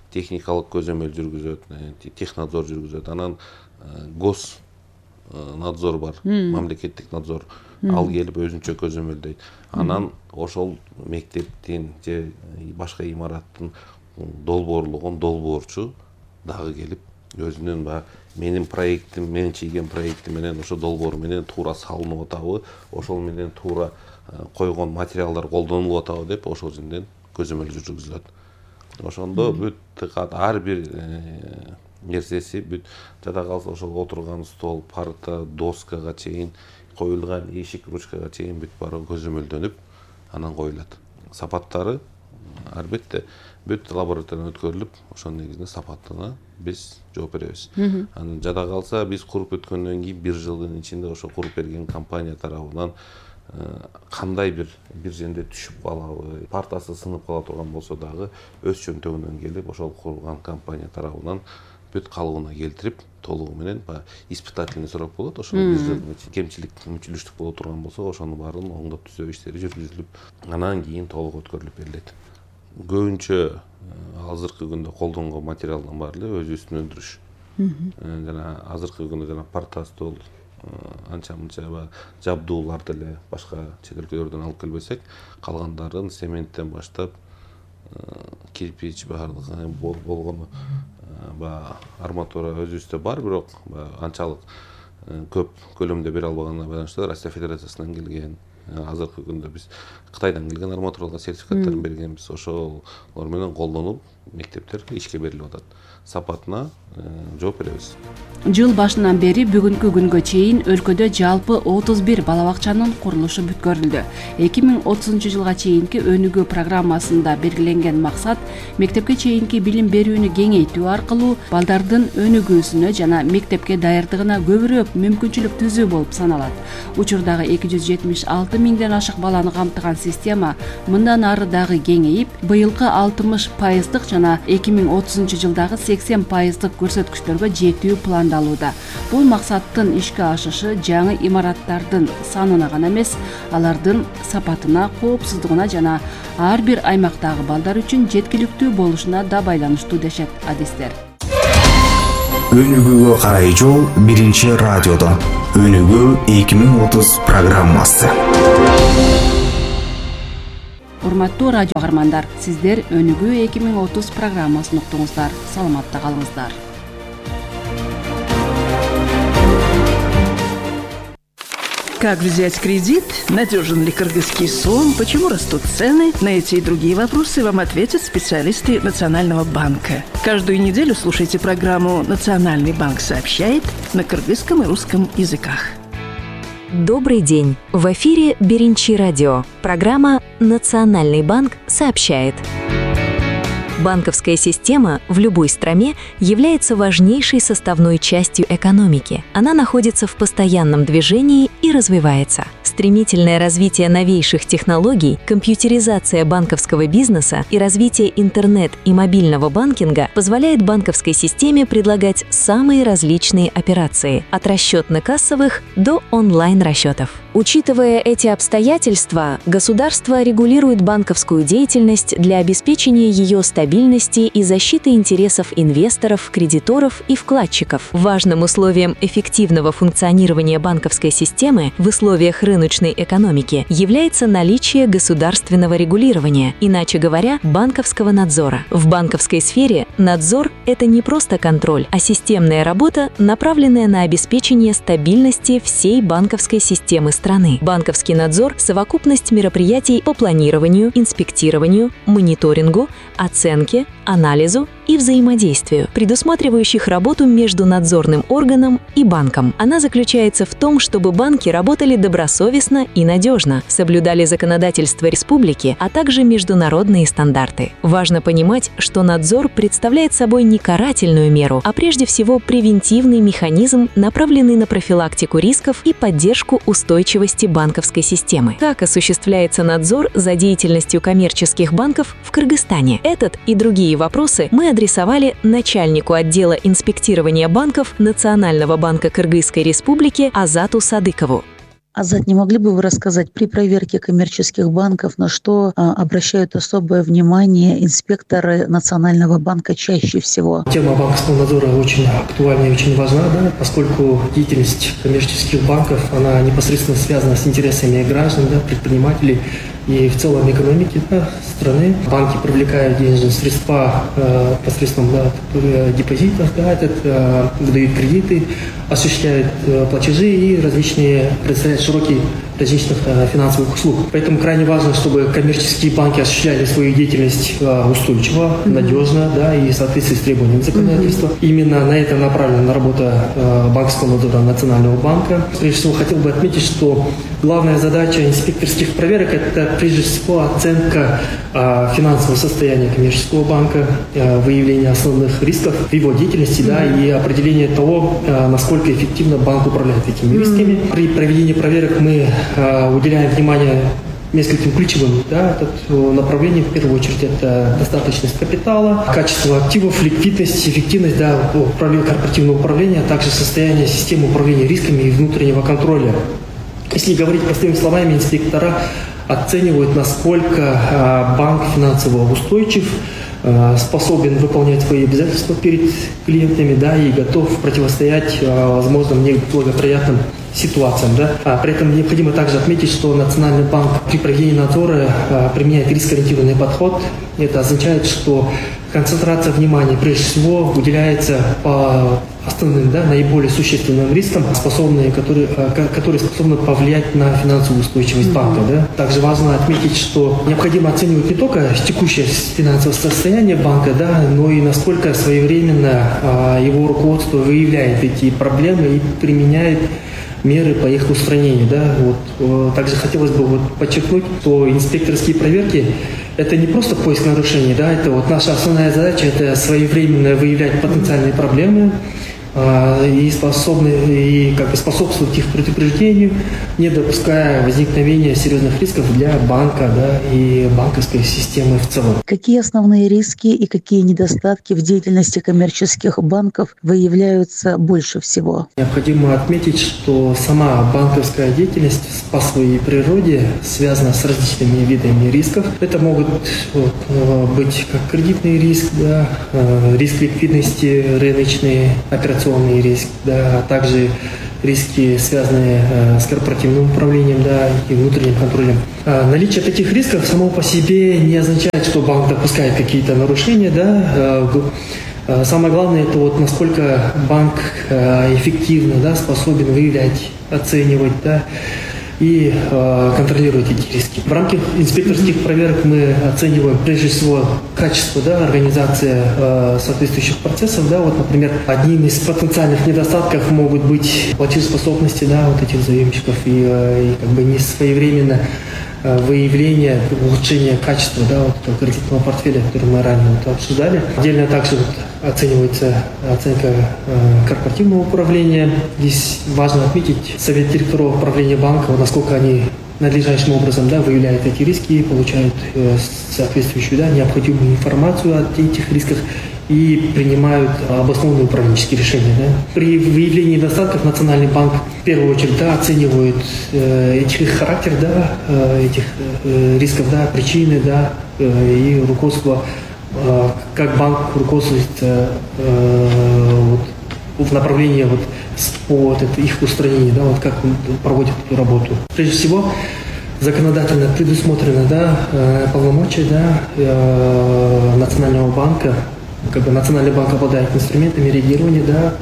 техникалык көзөмөл жүргүзөт, технадзор жүргүзөт. Анан гос надзор бар, мамлекеттик надзор, ал келип өзүнчө көзөмөлдөйт. Анан ошол мектептин же башка имараттын долбоорлогон долбоорчу дагы келип өзүнүн менин проектим, мен чийген проектим менен ошо долбоор менен туура салынып атабы, ошол менен туура койгон материалдар колдонулуп атабы деп ошол жерден көзөмөл жүргүзүлөт. Ошондо бүт ар бир нерсеси бүт жада калса ошол отурган стол, парта, доскага чейин, коюлган эшик, ручкага чейин бүт баары көзөмөлдөнүп, анан коюлат. Сапаттары албетте бүт лабораториядан өткөрүлүп, ошонун негизинде сапатына биз жооп беребиз. Анан жада калса биз куруп өткөндөн кийин бир жылдын ичинде ошо куруп берген компания тарабынан кандай бир жерде түшүп калабы, партасы сынып кала турган болсо дагы өз чөнтөгүнөн келип ошол курулган компания тарабынан бүт калыбына келтирип, толугу менен испытательный срок болот, ошо бир жылдын ичинде кемчилик, мүчүлүштүк боло турган болсо, ошонун баарын оңдоп түзөө иштери жүргүзүлүп, анан кийин толук өткөрүлүп берилет. Көбүнчө азыркы күндө колдонгон материалдын баары эле өзүбүздүн өндүрүш. Жана азыркы күндө жана парта, стол, анча-мынча жабдууларды эле башка чет өлкөлөрдөн алып келбесек, калгандарын цементтен баштап кирпич баардыгы болгону арматура өзүбүздө бар, бирок анчалык көп көлөмдө бере албаганына байланыштуу Россия Федерациясынан келген азыркы күндө биз Кытайдан келген арматуралык сертификаттарын бергенбиз. Ошолор менен колдонуп мектептер ишке берилип атат. Сапатына жооп беребиз. Жыл башынан бери бүгүнкү күнгө чейин өлкөдө жалпы 31 бала бакчанын курулушу бүткөрүлдү. 2030 жылга чейинки өнүгүү программасында белгиленген максат мектепке чейинки билим берүүнү кеңейтүү аркылуу балдардын өнүгүүсүнө жана мектепке даярдыгына көбүрөөк мүмкүнчүлүк түзүү болуп саналат. Учурдагы 276 миңден ашык баланы камтыган система мындан ары дагы кеңейип, быйылкы 60% жана 2030 жылдагы 80% көрсөткүчтөргө жетүү пландалууда. Бул максаттын ишке ашышы жаңы имараттардын санына гана эмес, алардын сапатына, коопсуздугуна жана ар бир аймактагы балдар үчүн жеткиликтүү болушуна да байланыштуу дешет адистер. Өнүгүүгө карай жол биринчи радиодо. Өнүгүү 2030 программасы. Урматтуу радио каармандар, сиздер Өнүгүү 2030 программасын уктуңуздар. Саламатта калыңыздар. Как взять кредит? Надежен ли кыргызский сом? Почему растут цены? На эти и другие вопросы вам ответят специалисты Национального банка. Каждую неделю слушайте программу «Национальный банк сообщает» на кыргызском и русском языках. Добрый день! В эфире Биринчи радио. Программа «Национальный банк сообщает». Банковская система в любой стране является важнейшей составной частью экономики. Она находится в постоянном движении и развивается. Стремительное развитие новейших технологий, компьютеризация банковского бизнеса и развитие интернет и мобильного банкинга позволяет банковской системе предлагать самые различные операции, от расчетно-кассовых до онлайн-расчетов. Учитывая эти обстоятельства, государство регулирует банковскую деятельность для обеспечения ее стабильности и защиты интересов инвесторов, кредиторов и вкладчиков. Важным условием эффективного функционирования банковской системы в условиях рыночной экономики является наличие государственного регулирования, иначе говоря, банковского надзора. В банковской сфере надзор – это не просто контроль, а системная работа, направленная на обеспечение стабильности всей банковской системы страны. Банковский надзор – совокупность мероприятий по планированию, инспектированию, мониторингу, оценке, анализу и взаимодействию, предусматривающих работу между надзорным органом и банком. Она заключается в том, чтобы банки работали добросовестно и надежно, соблюдали законодательство республики, а также международные стандарты. Важно понимать, что надзор представляет собой не карательную меру, а прежде всего превентивный механизм, направленный на профилактику рисков и поддержку устойчивости банковской системы. Как осуществляется надзор за деятельностью коммерческих банков в Кыргызстане? Этот и другие вопросы мы адресовали начальнику отдела инспектирования банков Национального банка Кыргызской Республики Азату Садыкову. Азат, не могли бы вы рассказать при проверке коммерческих банков, на что обращают особое внимание инспекторы Национального банка чаще всего? Тема банковского надзора очень актуальна и очень важна, да, поскольку деятельность коммерческих банков, она непосредственно связана с интересами граждан, да, предпринимателей и в целом экономики, да, страны. Банки привлекают денежные средства посредством, да, депозитов, да, выдают кредиты, осуществляют платежи и различные предоставляют широкий различных финансовых услуг. Поэтому крайне важно, чтобы коммерческие банки осуществляли свою деятельность устойчиво, надежно, да, и в соответствии с требованиями законодательства. Именно на это направлена работа банковского надзора Национального банка. Прежде всего, хотел бы отметить, что главная задача инспекторских проверок – это прежде всего оценка финансового состояния коммерческого банка, выявление основных рисков в его деятельности, да, и определение того, насколько эффективно банк управляет этими рисками. При проведении проверок мы уделяем внимание нескольким ключевым, да, направлениям. В первую очередь это достаточность капитала, качество активов, ликвидность, эффективность, да, корпоративного управления, а также состояние системы управления рисками и внутреннего контроля. Если говорить простыми словами, инспектора оценивают, насколько банк финансово устойчив, способен выполнять свои обязательства перед клиентами, да, и готов противостоять возможным неблагоприятным ситуациям. Да. При этом необходимо также отметить, что Национальный банк при проведении надзора применяет рискоориентированный подход. Это означает, что концентрация внимания прежде всего уделяется по основным, да, наиболее существенным рискам, которые способны повлиять на финансовую устойчивость банка. Да. Также важно отметить, что необходимо оценивать не только текущее финансовое состояние банка, да, но и насколько своевременно его руководство выявляет эти проблемы и применяет меры по их устранению. Да. Вот. Также хотелось бы подчеркнуть, что инспекторские проверки – это не просто поиск нарушений, да, это вот наша основная задача – это своевременно выявлять потенциальные проблемы и способствовать их предупреждению, не допуская возникновения серьезных рисков для банка, да, и банковской системы в целом. Какие основные риски и какие недостатки в деятельности коммерческих банков выявляются больше всего? Необходимо отметить, что сама банковская деятельность по своей природе связана с различными видами рисков. Это могут быть как кредитный риск, да, риск ликвидности, рыночный, операционный риск, да, а также риски, связанные с корпоративным управлением, да, и внутренним контролем. Наличие таких рисков само по себе не означает, что банк допускает какие-то нарушения. Да. Самое главное – это вот насколько банк эффективно, да, способен выявлять, оценивать, да, и контролировать эти риски. В рамках инспекторских проверок мы оцениваем прежде всего качество, да, организации соответствующих процессов. Да, вот, например, одним из потенциальных недостатков могут быть платежеспособности, да, вот этих заемщиков и как бы несвоевременно выявление, улучшение качества, да, вот этого кредитного портфеля, который мы ранее обсуждали. Отдельно также оценивается оценка корпоративного управления. Здесь важно отметить совет директоров управления банка, насколько они надлежащим образом, да, выявляют эти риски и получают соответствующую, да, необходимую информацию о этих рисках и принимают обоснованные управленческие решения. Да. При выявлении недостатков Национальный банк в первую очередь, да, оценивает их характер, да, этих рисков, да, причины, да, и руководство, как банк руководствуется в направлении по их устранению, да, как он проводит эту работу. Прежде всего, законодательно предусмотрено, да, полномочия, да, Национального банка. Как бы Национальный банк обладает инструментами реагирования, да,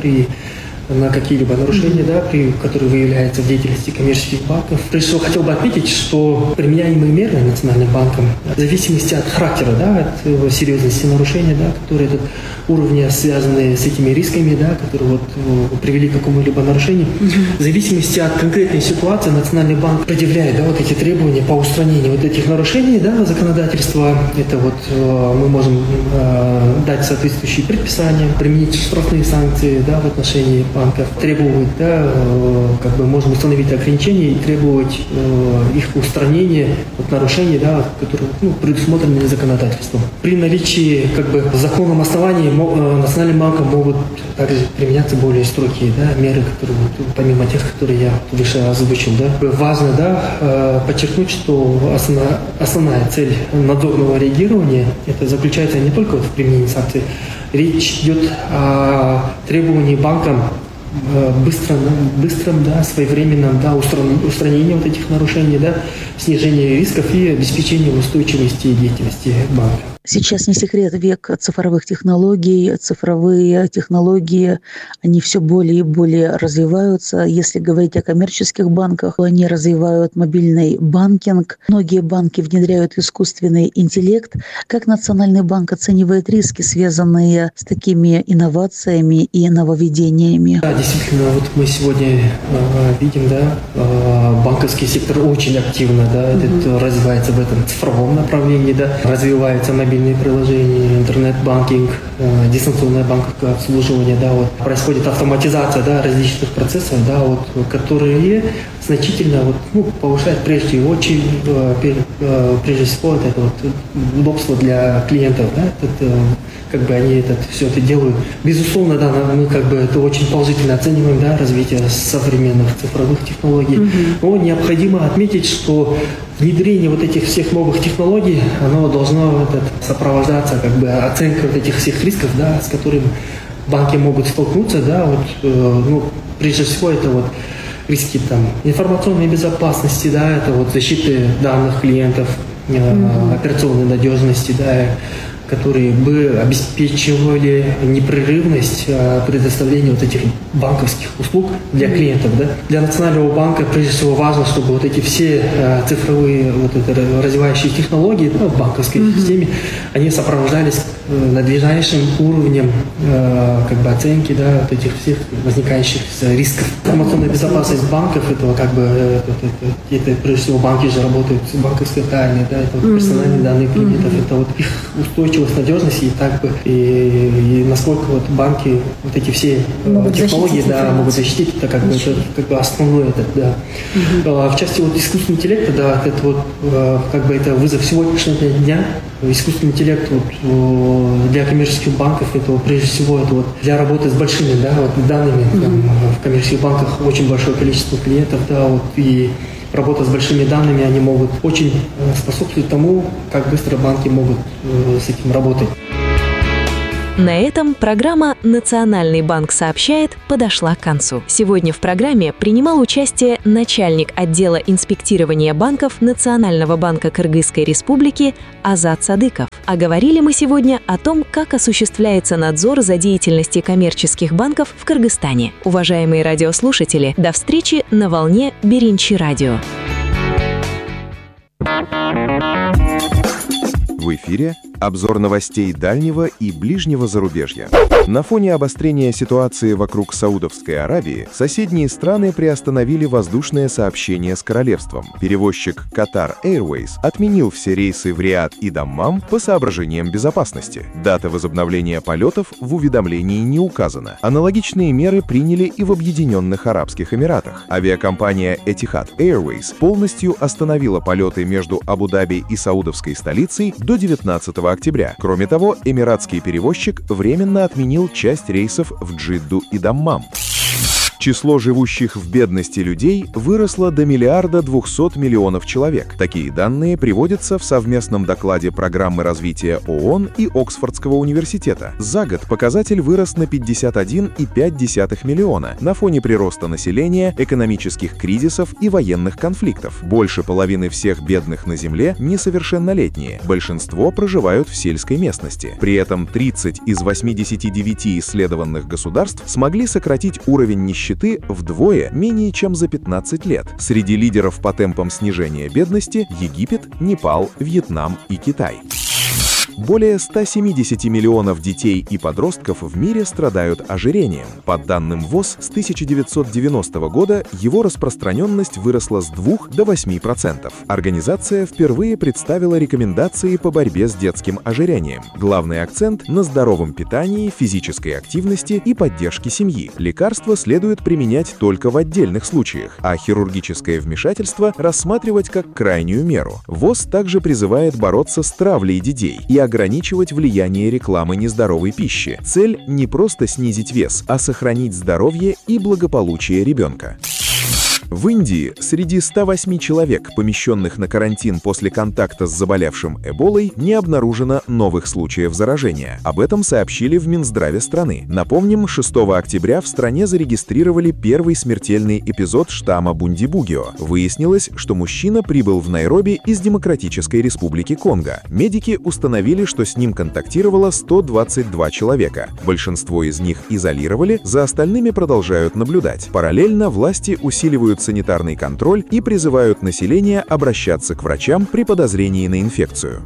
на какие-либо нарушения, да, которые выявляются в деятельности коммерческих банков. Прежде всего, хотел бы отметить, что применяемые меры Национальным банком в зависимости от характера, да, от серьезности нарушения, да, которые уровня связаны с этими рисками, да, которые привели к какому-либо нарушению, в зависимости от конкретной ситуации Национальный банк предъявляет, да, эти требования по устранению этих нарушений, да, законодательства. Это мы можем дать соответствующие предписания, применить штрафные санкции, да, в отношении банков, требовать, да, как бы можем установить ограничения и требовать их устранения нарушений, да, которые предусмотрены законодательством. При наличии как бы законном основании Национальным банком могут также применяться более строгие, да, меры, которые помимо тех, которые я выше озвучил. Да. Важно, да, подчеркнуть, что основная цель надзорного реагирования это заключается не только в применении санкций. Речь идет о требовании банкам быстром, да, своевременном, да, устранении этих нарушений, да, снижении рисков и обеспечении устойчивости деятельности банка. Сейчас не секрет, век цифровых технологий, цифровые технологии, они все более и более развиваются. Если говорить о коммерческих банках, они развивают мобильный банкинг. Многие банки внедряют искусственный интеллект. Как Национальный банк оценивает риски, связанные с такими инновациями и нововведениями? Да, действительно, мы сегодня видим, да, банковский сектор очень активно, да, развивается в этом цифровом направлении, да, развивается мобильный приложения, интернет-банкинг, дистанционное банковское обслуживание, да, происходит автоматизация, да, различных процессов, да, которые значительно повышают прежде всего это удобство для клиентов, да, как бы они все это делают. Безусловно, да, мы как бы это очень положительно оцениваем, да, развитие современных цифровых технологий. Но необходимо отметить, что внедрение этих всех новых технологий, оно должно сопровождаться как бы оценкой этих всех рисков, да, с которыми банки могут столкнуться, да, прежде всего это риски там информационной безопасности, да, это вот защиты данных клиентов, операционной надежности, да, которые бы обеспечивали непрерывность предоставления вот этих банковских услуг для клиентов. Да? Для Национального банка прежде всего важно, чтобы вот эти все цифровые вот это, развивающие технологии в банковской системе, они сопровождались надлежащим уровнем как бы оценки, да, вот этих всех возникающих рисков. Информационная безопасность банков, это прежде всего банки же работают с банковской тайной, да, это вот персональные данные клиентов, это вот их устойчивость, надежность и так бы и насколько вот банки вот эти все технологии могут защитить, это как бы основное это, да. В части вот искусственного интеллекта, да, это вот как бы это вызов сегодняшнего дня. Искусственный интеллект вот, для коммерческих банков это прежде всего это вот для работы с большими, да, вот данными. Там, в коммерческих банках очень большое количество клиентов, да, вот, и работа с большими данными, они могут очень способствовать тому, как быстро банки могут с этим работать. На этом программа «Национальный банк сообщает» подошла к концу. Сегодня в программе принимал участие начальник отдела инспектирования банков Национального банка Кыргызской Республики Азат Садыков. А говорили мы сегодня о том, как осуществляется надзор за деятельностью коммерческих банков в Кыргызстане. Уважаемые радиослушатели, до встречи на волне Биринчи радио. В эфире обзор новостей дальнего и ближнего зарубежья. На фоне обострения ситуации вокруг Саудовской Аравии соседние страны приостановили воздушное сообщение с королевством. Перевозчик Qatar Airways отменил все рейсы в Риад и Даммам по соображениям безопасности. Дата возобновления полетов в уведомлении не указана. Аналогичные меры приняли и в Объединенных Арабских Эмиратах. Авиакомпания Etihad Airways полностью остановила полеты между Абу-Даби и саудовской столицей до 19 октября. Кроме того, эмиратский перевозчик временно отменил часть рейсов в Джидду и Даммам. Число живущих в бедности людей выросло до 1 200 000 000 человек. Такие данные приводятся в совместном докладе Программы развития ООН и Оксфордского университета. За год показатель вырос на 51,5 миллиона на фоне прироста населения, экономических кризисов и военных конфликтов. Больше половины всех бедных на Земле несовершеннолетние. Большинство проживают в сельской местности. При этом 30 из 89 исследованных государств смогли сократить уровень нищеты вдвое менее чем за 15 лет. Среди лидеров по темпам снижения бедности Египет, Непал, Вьетнам и Китай. Более 170 миллионов детей и подростков в мире страдают ожирением. По данным ВОЗ, с 1990 года его распространенность выросла с 2 до 8%. Организация впервые представила рекомендации по борьбе с детским ожирением. Главный акцент на здоровом питании, физической активности и поддержке семьи. Лекарства следует применять только в отдельных случаях, а хирургическое вмешательство рассматривать как крайнюю меру. ВОЗ также призывает бороться с травлей детей и ограничивать влияние рекламы нездоровой пищи. Цель не просто снизить вес, а сохранить здоровье и благополучие ребенка. В Индии среди 108 человек, помещенных на карантин после контакта с заболевшим Эболой, не обнаружено новых случаев заражения. Об этом сообщили в Минздраве страны. Напомним, 6 октября в стране зарегистрировали первый смертельный эпизод штамма Бундибугио. Выяснилось, что мужчина прибыл в Найроби из Демократической Республики Конго. Медики установили, что с ним контактировало 122 человека. Большинство из них изолировали, за остальными продолжают наблюдать. Параллельно власти усиливают санитарный контроль и призывают население обращаться к врачам при подозрении на инфекцию.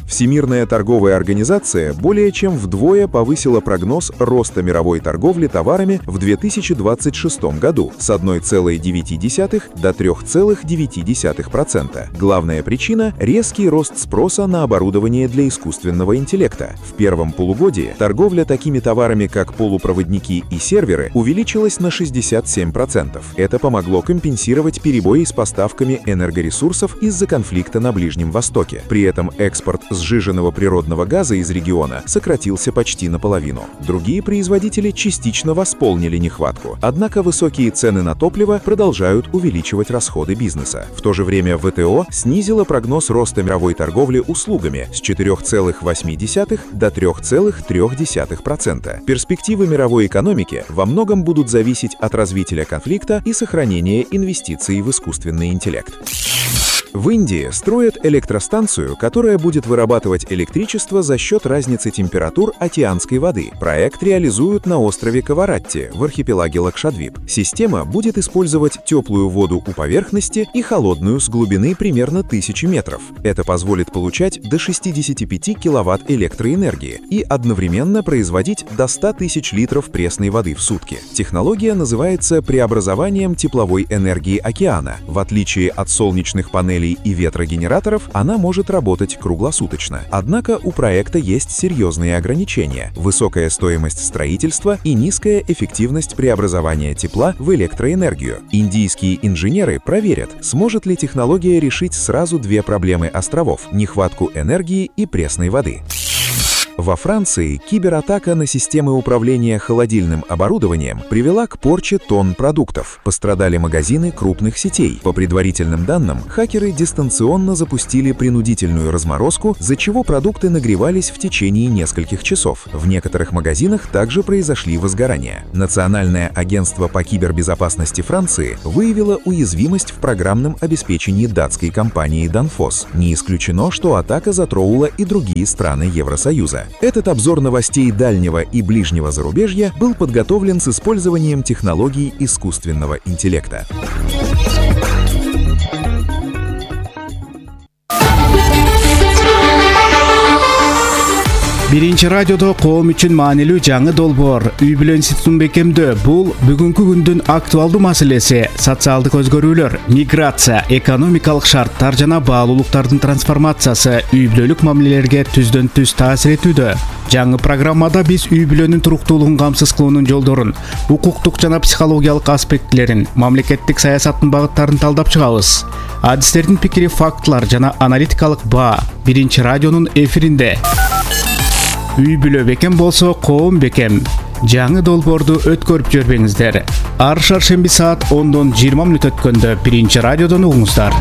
Всемирная торговая организация более чем вдвое повысила прогноз роста мировой торговли товарами в 2026 году с 1,9 до 3,9%. Главная причина – резкий рост спроса на оборудование для искусственного интеллекта. В первом полугодии торговля такими товарами, как полупроводники и серверы, увеличилась на 67%. Это помогло компенсировать перебои с поставками энергоресурсов из-за конфликта на Ближнем Востоке. При этом экспорт сжиженного природного газа из региона сократился почти наполовину. Другие производители частично восполнили нехватку. Однако высокие цены на топливо продолжают увеличивать расходы бизнеса. В то же время ВТО снизила прогноз роста мировой торговли услугами с 4,8 до 3,3%. Перспективы мировой экономики во многом будут зависеть от развития конфликта и сохранения инвестиций в искусственный интеллект. В Индии строят электростанцию, которая будет вырабатывать электричество за счет разницы температур океанской воды. Проект реализуют на острове Каваратти в архипелаге Лакшадвип. Система будет использовать теплую воду у поверхности и холодную с глубины примерно 1000 метров. Это позволит получать до 65 киловатт электроэнергии и одновременно производить до 100 тысяч литров пресной воды в сутки. Технология называется преобразованием тепловой энергии океана. В отличие от солнечных панелей и ветрогенераторов, она может работать круглосуточно. Однако у проекта есть серьезные ограничения: высокая стоимость строительства и низкая эффективность преобразования тепла в электроэнергию. Индийские инженеры проверят, сможет ли технология решить сразу две проблемы островов – нехватку энергии и пресной воды. Во Франции кибератака на системы управления холодильным оборудованием привела к порче тонн продуктов. Пострадали магазины крупных сетей. По предварительным данным, хакеры дистанционно запустили принудительную разморозку, за чего продукты нагревались в течение нескольких часов. В некоторых магазинах также произошли возгорания. Национальное агентство по кибербезопасности Франции выявило уязвимость в программном обеспечении датской компании Danfoss. Не исключено, что атака затронула и другие страны Евросоюза. Этот обзор новостей дальнего и ближнего зарубежья был подготовлен с использованием технологий искусственного интеллекта. Биринчи радиодо коом үчүн маанилүү жаңы долбоор үй бүлө институтун бекемдөө. Бул бүгүнкү күндүн актуалдуу маселеси. Социалдык өзгөрүүлөр, миграция, экономикалык шарттар жана баалуулуктардын трансформациясы үй бүлөлүк мамилелерге түздөн түз таасир этүүдө. Жаңы программада биз үй бүлөнүн туруктуулугун камсыз кылуунун жолдорун, укуктук жана психологиялык аспектилерин, мамлекеттик саясаттын багыттарын талдап чыгабыз. Адистердин пикири, фактылар жана аналитикалык баа биринчи радионун эфиринде. Үй бүлө бекем болсо, коом бекем. Жаңы долбоорду өткөрүп жибербеңиздер. Ар шаршемби саат 10:20 өткөндө биринчи радиодон угуңуздар.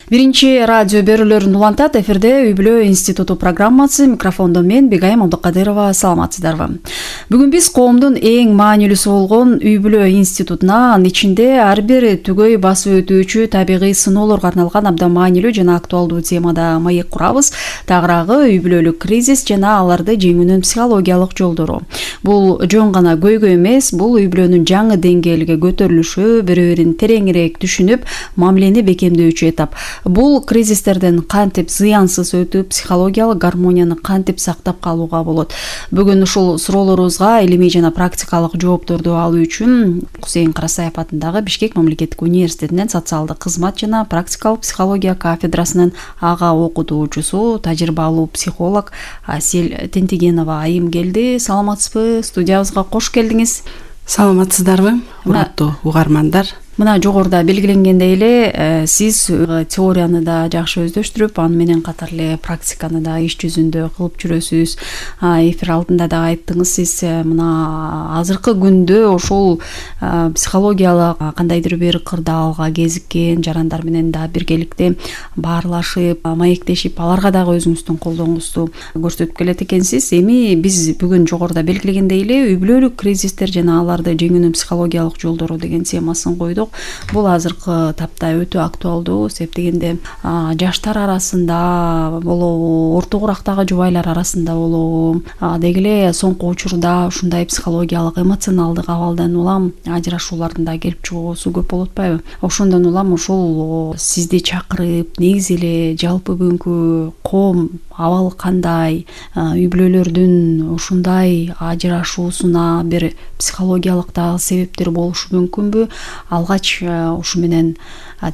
Биринчи радио берүүлөрүн улантат. Эфирде Үй бүлө институту программасы. Микрофондо мен Бегайым Абдыкадырова. Саламатсыздарбы? Бүгүн биз коомдун эң маанилүүсү болгон Үй бүлө институтуна, анын ичинде ар бир түгөй басып өтүүчү табигый сыноолорго арналган абдан маанилүү жана актуалдуу темада маек курабыз. Тагыраагы үй бүлөлүк кризис жана аларды жеңүүнүн психологиялык жолдору. Бул жөн гана көйгөй эмес, бул үй бүлөнүн жаңы деңгээлге көтөрүлүшү, бири-бирин тереңирээк түшүнүп, мамилени бекемдөөчү этап. Бул кризистерден кантип зыянсыз өтүп, психологиялык гармонияны кантип сактап калууга болот. Бүгүн ушул суроолорубузга илимий жана практикалык жоопторду алуу үчүн Кусейин Карасаев атындагы Бишкек мамлекеттик университетинен социалдык кызмат жана практикалык психология кафедрасынын ага окутуучусу, тажрыйбалуу психолог Асель Тентигенова айым келди. Саламатсызбы? Студиябызга кош келдиңиз. Саламатсыздарбы, ураттуу угармандар? Мына жогоруда белгиленгендей эле, сиз теорияны да жакшы өздөштүрүп, аны менен катар эле практиканы да иш жүзүндө кылып жүрөсүз. Эфир алдында да айттыңыз, сиз мына азыркы күндө ошол психологиялык кандайдыр бир кырдаалга кезиккен жарандар менен да биргеликте баарлашып, маектешип, аларга дагы өзүңүздүн колдооңузду көрсөтүп келет экенсиз. Эми биз бүгүн жогоруда белгилегендей эле үй бүлөлүк кризистер жана аларды жеңүүнүн психологиялык жолдору деген темасын койдук. Бул азыркы тапта өтө актуалдуу, себеп дегенде жаштар арасында болобу, орто курактагы жубайлар арасында болобу, деги эле соңку учурда ушундай психологиялык, эмоционалдык абалдан улам ажырашуулардын да келип чыгуусу көп болуп атпайбы? Ошондон улам ушул сизди чакырып, негизи эле жалпы бүгүнкү коом абалы кандай, үй бүлөлөрдүн ушундай ажырашуусуна бир психологиялык дагы себептер болушу мүмкүнбү? Алгач ушу менен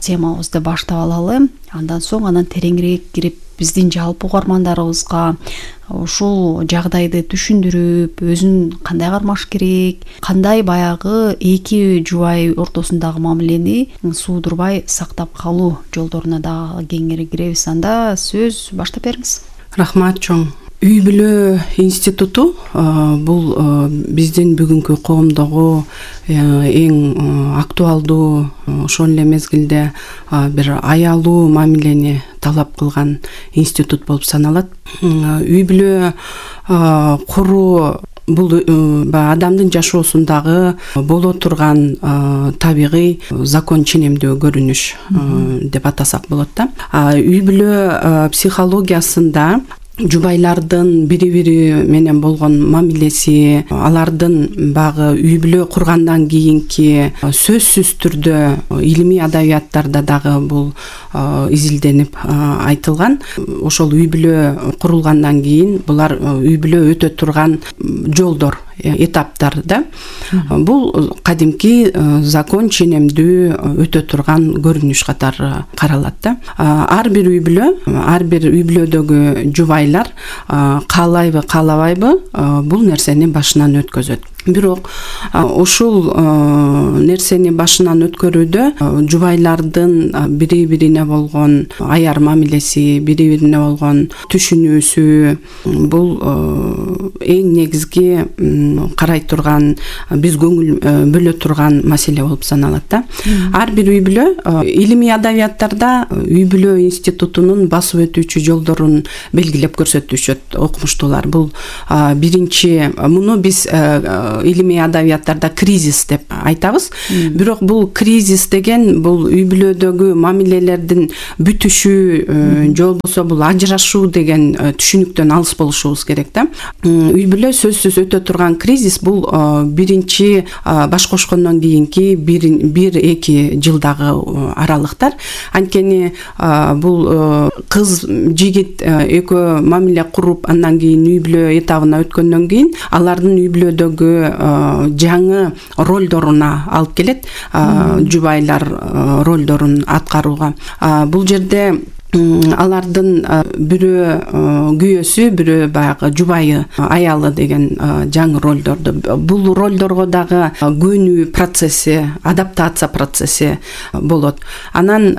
темабызды баштап алалы. Андан соң анан тереңирээк кирип биздин жалпы угармандарыбызга ушул жагдайды түшүндүрүп, өзүн кандай кармаш керек, кандай баягы эки жубай ортосундагы мамилени суудурбай сактап калуу жолдоруна дагы кеңири киребиз. Анда сөз баштап бериңиз. Рахмат чоң. Үй бүлө институту бул биздин бүгүнкү коомдогу эң актуалдуу, ошол эле мезгилде бир аялуу мамилени талап кылган институт болуп саналат. Үй бүлө куруу бул адамдын жашоосундагы боло турган табигый закон ченемдүү көрүнүш деп атасак болот да. Үй бүлө психологиясында жубайлардын бири-бири менен болгон мамилеси, алардын багы үй бүлө кургандан кийинки сөзсүз түрдө илимий адабияттарда дагы бул изилденип айтылган. Ошол үй бүлө курулгандан кийин булар үй бүлө өтө турган жолдор, этаптар да. Бул кадимки закон ченемдүү өтө турган көрүнүш катары каралат да. Ар бир үй бүлөдөгү жубайлар каалайбы каалабайбы бул нерсени башынан өткөзөт. Бирок ушул нерсени башынан өткөрүүдө жубайлардын бири-бирине болгон аяр мамилеси, бири-бирине болгон түшүнүүсү бул эң негизги карай турган, биз көңүл бөлө турган маселе болуп саналат да. Ар бир үй бүлө илимий адабияттарда үй бүлө институтунун басып өтүүчү жолдорун белгилеп көрсөтүшөт окумуштуулар. Бул биринчи, муну биз илимий адабияттарда кризис деп айтабыз. Бирок бул кризис деген бул үй бүлөдөгү мамилелердин бүтүшү, же болбосо бул ажырашуу деген түшүнүктөн алыс болушубуз керек да. Үй бүлө сөзсүз өтө турган кризис бул биринчи баш кошкондон кийинки 1-2 жылдагы аралыктар. Анткени бул кыз жигит экөө мамиле куруп, андан кийин үй бүлө этабына өткөндөн кийин алардын үй бүлөдөгү жаңы ролдоруна алып келет, жубайлар ролдорун аткарууга. Бул жерде алардын бирөө күйөөсү, бирөө баягы жубайы, аялы деген жаңы ролдорду. Бул ролдорго дагы көнүү процесси, адаптация процесси болот. Анан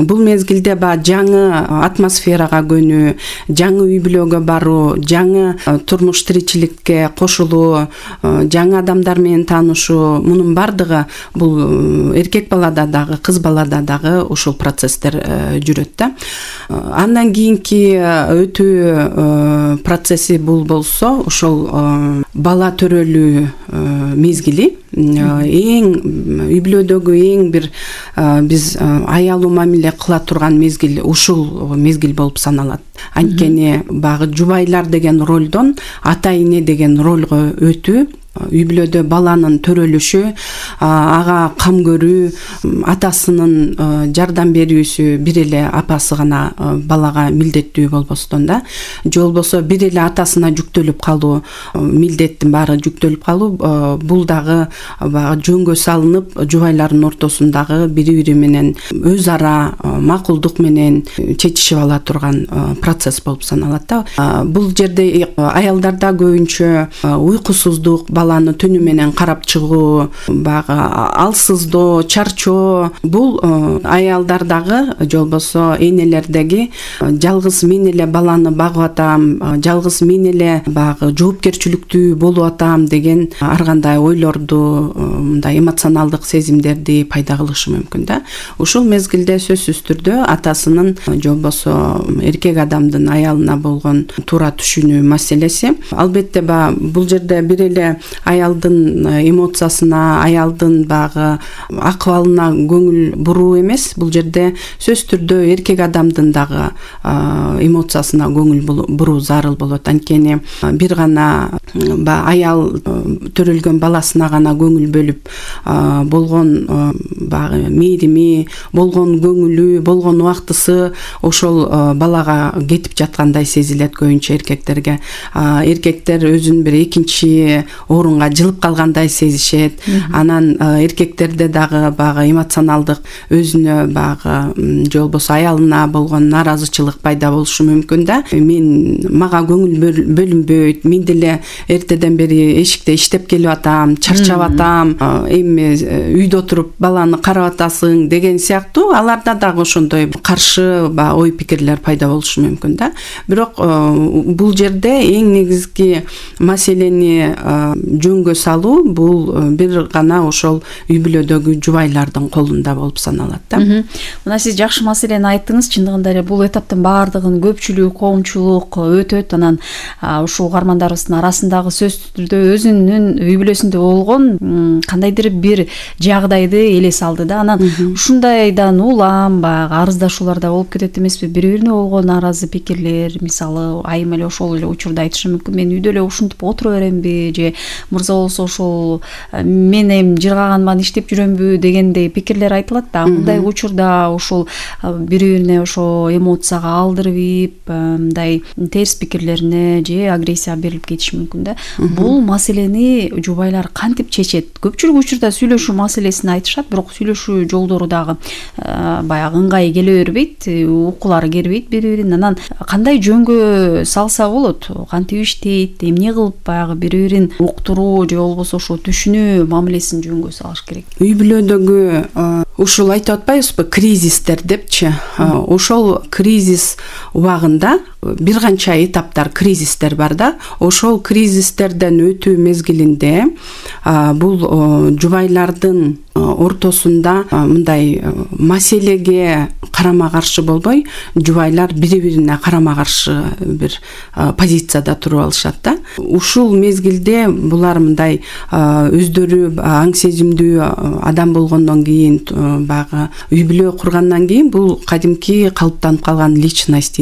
бул мезгилде жаңы атмосферага көнүү, жаңы үй бүлөгө баруу, жаңы турмуш тиричиликке кошулуу, жаңы адамдар менен таанышуу, мунун бардыгы бул эркек балада дагы, кыз балада дагы ушул процесстер жүрөт да. Андан кийинки өтүү процесси бул болсо, ошол бала төрөлүү мезгили, эң үй бүлөдөгү эң бир биз аялуу мамиле кыла турган мезгил ушул мезгил болуп саналат. Анткени багы жубайлар деген ролдон ата эне деген ролго өтүү, үй бүлөдө баланын төрөлүшү, ага кам көрүү, атасынын жардам берүүсү бир эле апасы гана балага милдеттүү болбостон да, же болбосо бир эле атасына жүктөлүп калуу, милдеттин баары жүктөлүп калуу, бул дагы жөнгө салынып жубайлардын ортосундагы бири-бири менен өз ара макулдук менен чечишип ала турган процесс болуп саналат да. Бул жерде аялдарда көбүнчө уйкусуздук, баланы түнү менен карап чыгуу, багы алсыздоо, чарчоо, бул аялдардагы же болбосо энелердеги жалгыз мен эле баланы багып атам, жалгыз мен эле багы жоопкерчиликтүү болуп атам деген ар кандай ойлорду, мындай эмоционалдык сезимдерди пайда кылышы мүмкүн да. Ушул мезгилде сөзсүз түрдө атасынын же болбосо эркек адамдын аялына болгон туура түшүнүү маселеси. Албетте бул жерде бир эле аялдын эмоциясына, аялдын багы акыбалына көңүл буруу эмес. Бул жерде сөз түрдө эркек адамдын дагы эмоциясына көңүл буруу зарыл болот. Анткени бир гана аял төрөлгөн баласына гана көңүл бөлүп болгон багы мээрими, болгон көңүлү, болгон убактысы ошол балага кетип жаткандай сезилет көбүнчө эркектерге. Эркектер өзүн бир экинчи орунга жылып калгандай сезишет. Анан эркектерде дагы баягы эмоционалдык өзүнө баягы же болбосо аялына болгон нааразычылык пайда болушу мүмкүн да. Мага көңүл бөлүнбөйт, мен деле эртеден бери эшикте иштеп келип атам, чарчап атам, эми үйдө отуруп баланы карап атасың деген сыяктуу аларда дагы ошондой каршы ой пикирлер пайда болушу мүмкүн да. Бирок бул жерде эң негизги маселени жөнгө салуу бул бир гана ошол үй бүлөдөгү жубайлардын колунда болуп саналат да. Мына сиз жакшы маселени айттыңыз. Чындыгында эле бул этаптын баардыгын көпчүлүк, коомчулук өтөт. Анан ушул угармандарыбыздын арасындагы сөзсүз түрдө өзүнүн үй бүлөсүндө болгон кандайдыр бир жагдайды элес алды да. Анан ушундайдан улам баягы арыздашууларда болуп кетет эмеспи? Бири-бирине болгон нааразы пикирлер, мисалы айым эле ошол эле учурда айтышы мүмкүн. Мен үйдө эле ушинтип отура беремби же мырза болсо ошол мен эми жыргаганман иштеп жүрөмбү дегендей пикирлер айтылат да. Мындай учурда ошол бири-бирине ошо эмоцияга алдырып, мындай терс пикирлерине же агрессияга берилип кетиши мүмкүн да. Бул маселени жубайлар кантип чечет? Көпчүлүк учурда сүйлөшүү маселесин айтышат, бирок сүйлөшүү жолдору дагы баягы ыңгай келе бербейт, укулары келбейт бири-бирин. Анан кандай жөнгө салса болот? Кантип иштейт? Эмне кылып баягы бири-бирин уктуруу же болбосо ошо түшүнүү мамилесин жөнгө салыш керек? Үй бүлөдөгү ушул айтып атпайбызбы, кризистер депчи. Ошол кризис убагында бир канча этаптар, кризистер бар да. Ошол кризистерден өтүү мезгилинде бул жубайлардын ортосунда мындай маселеге карама каршы болбой, жубайлар бири-бирине карама каршы бир позицияда туруп алышат да. Ушул мезгилде булар мындай өздөрү аң сезимдүү адам болгондон кийин, баягы үй бүлө кургандан кийин бул кадимки калыптанып калган личность,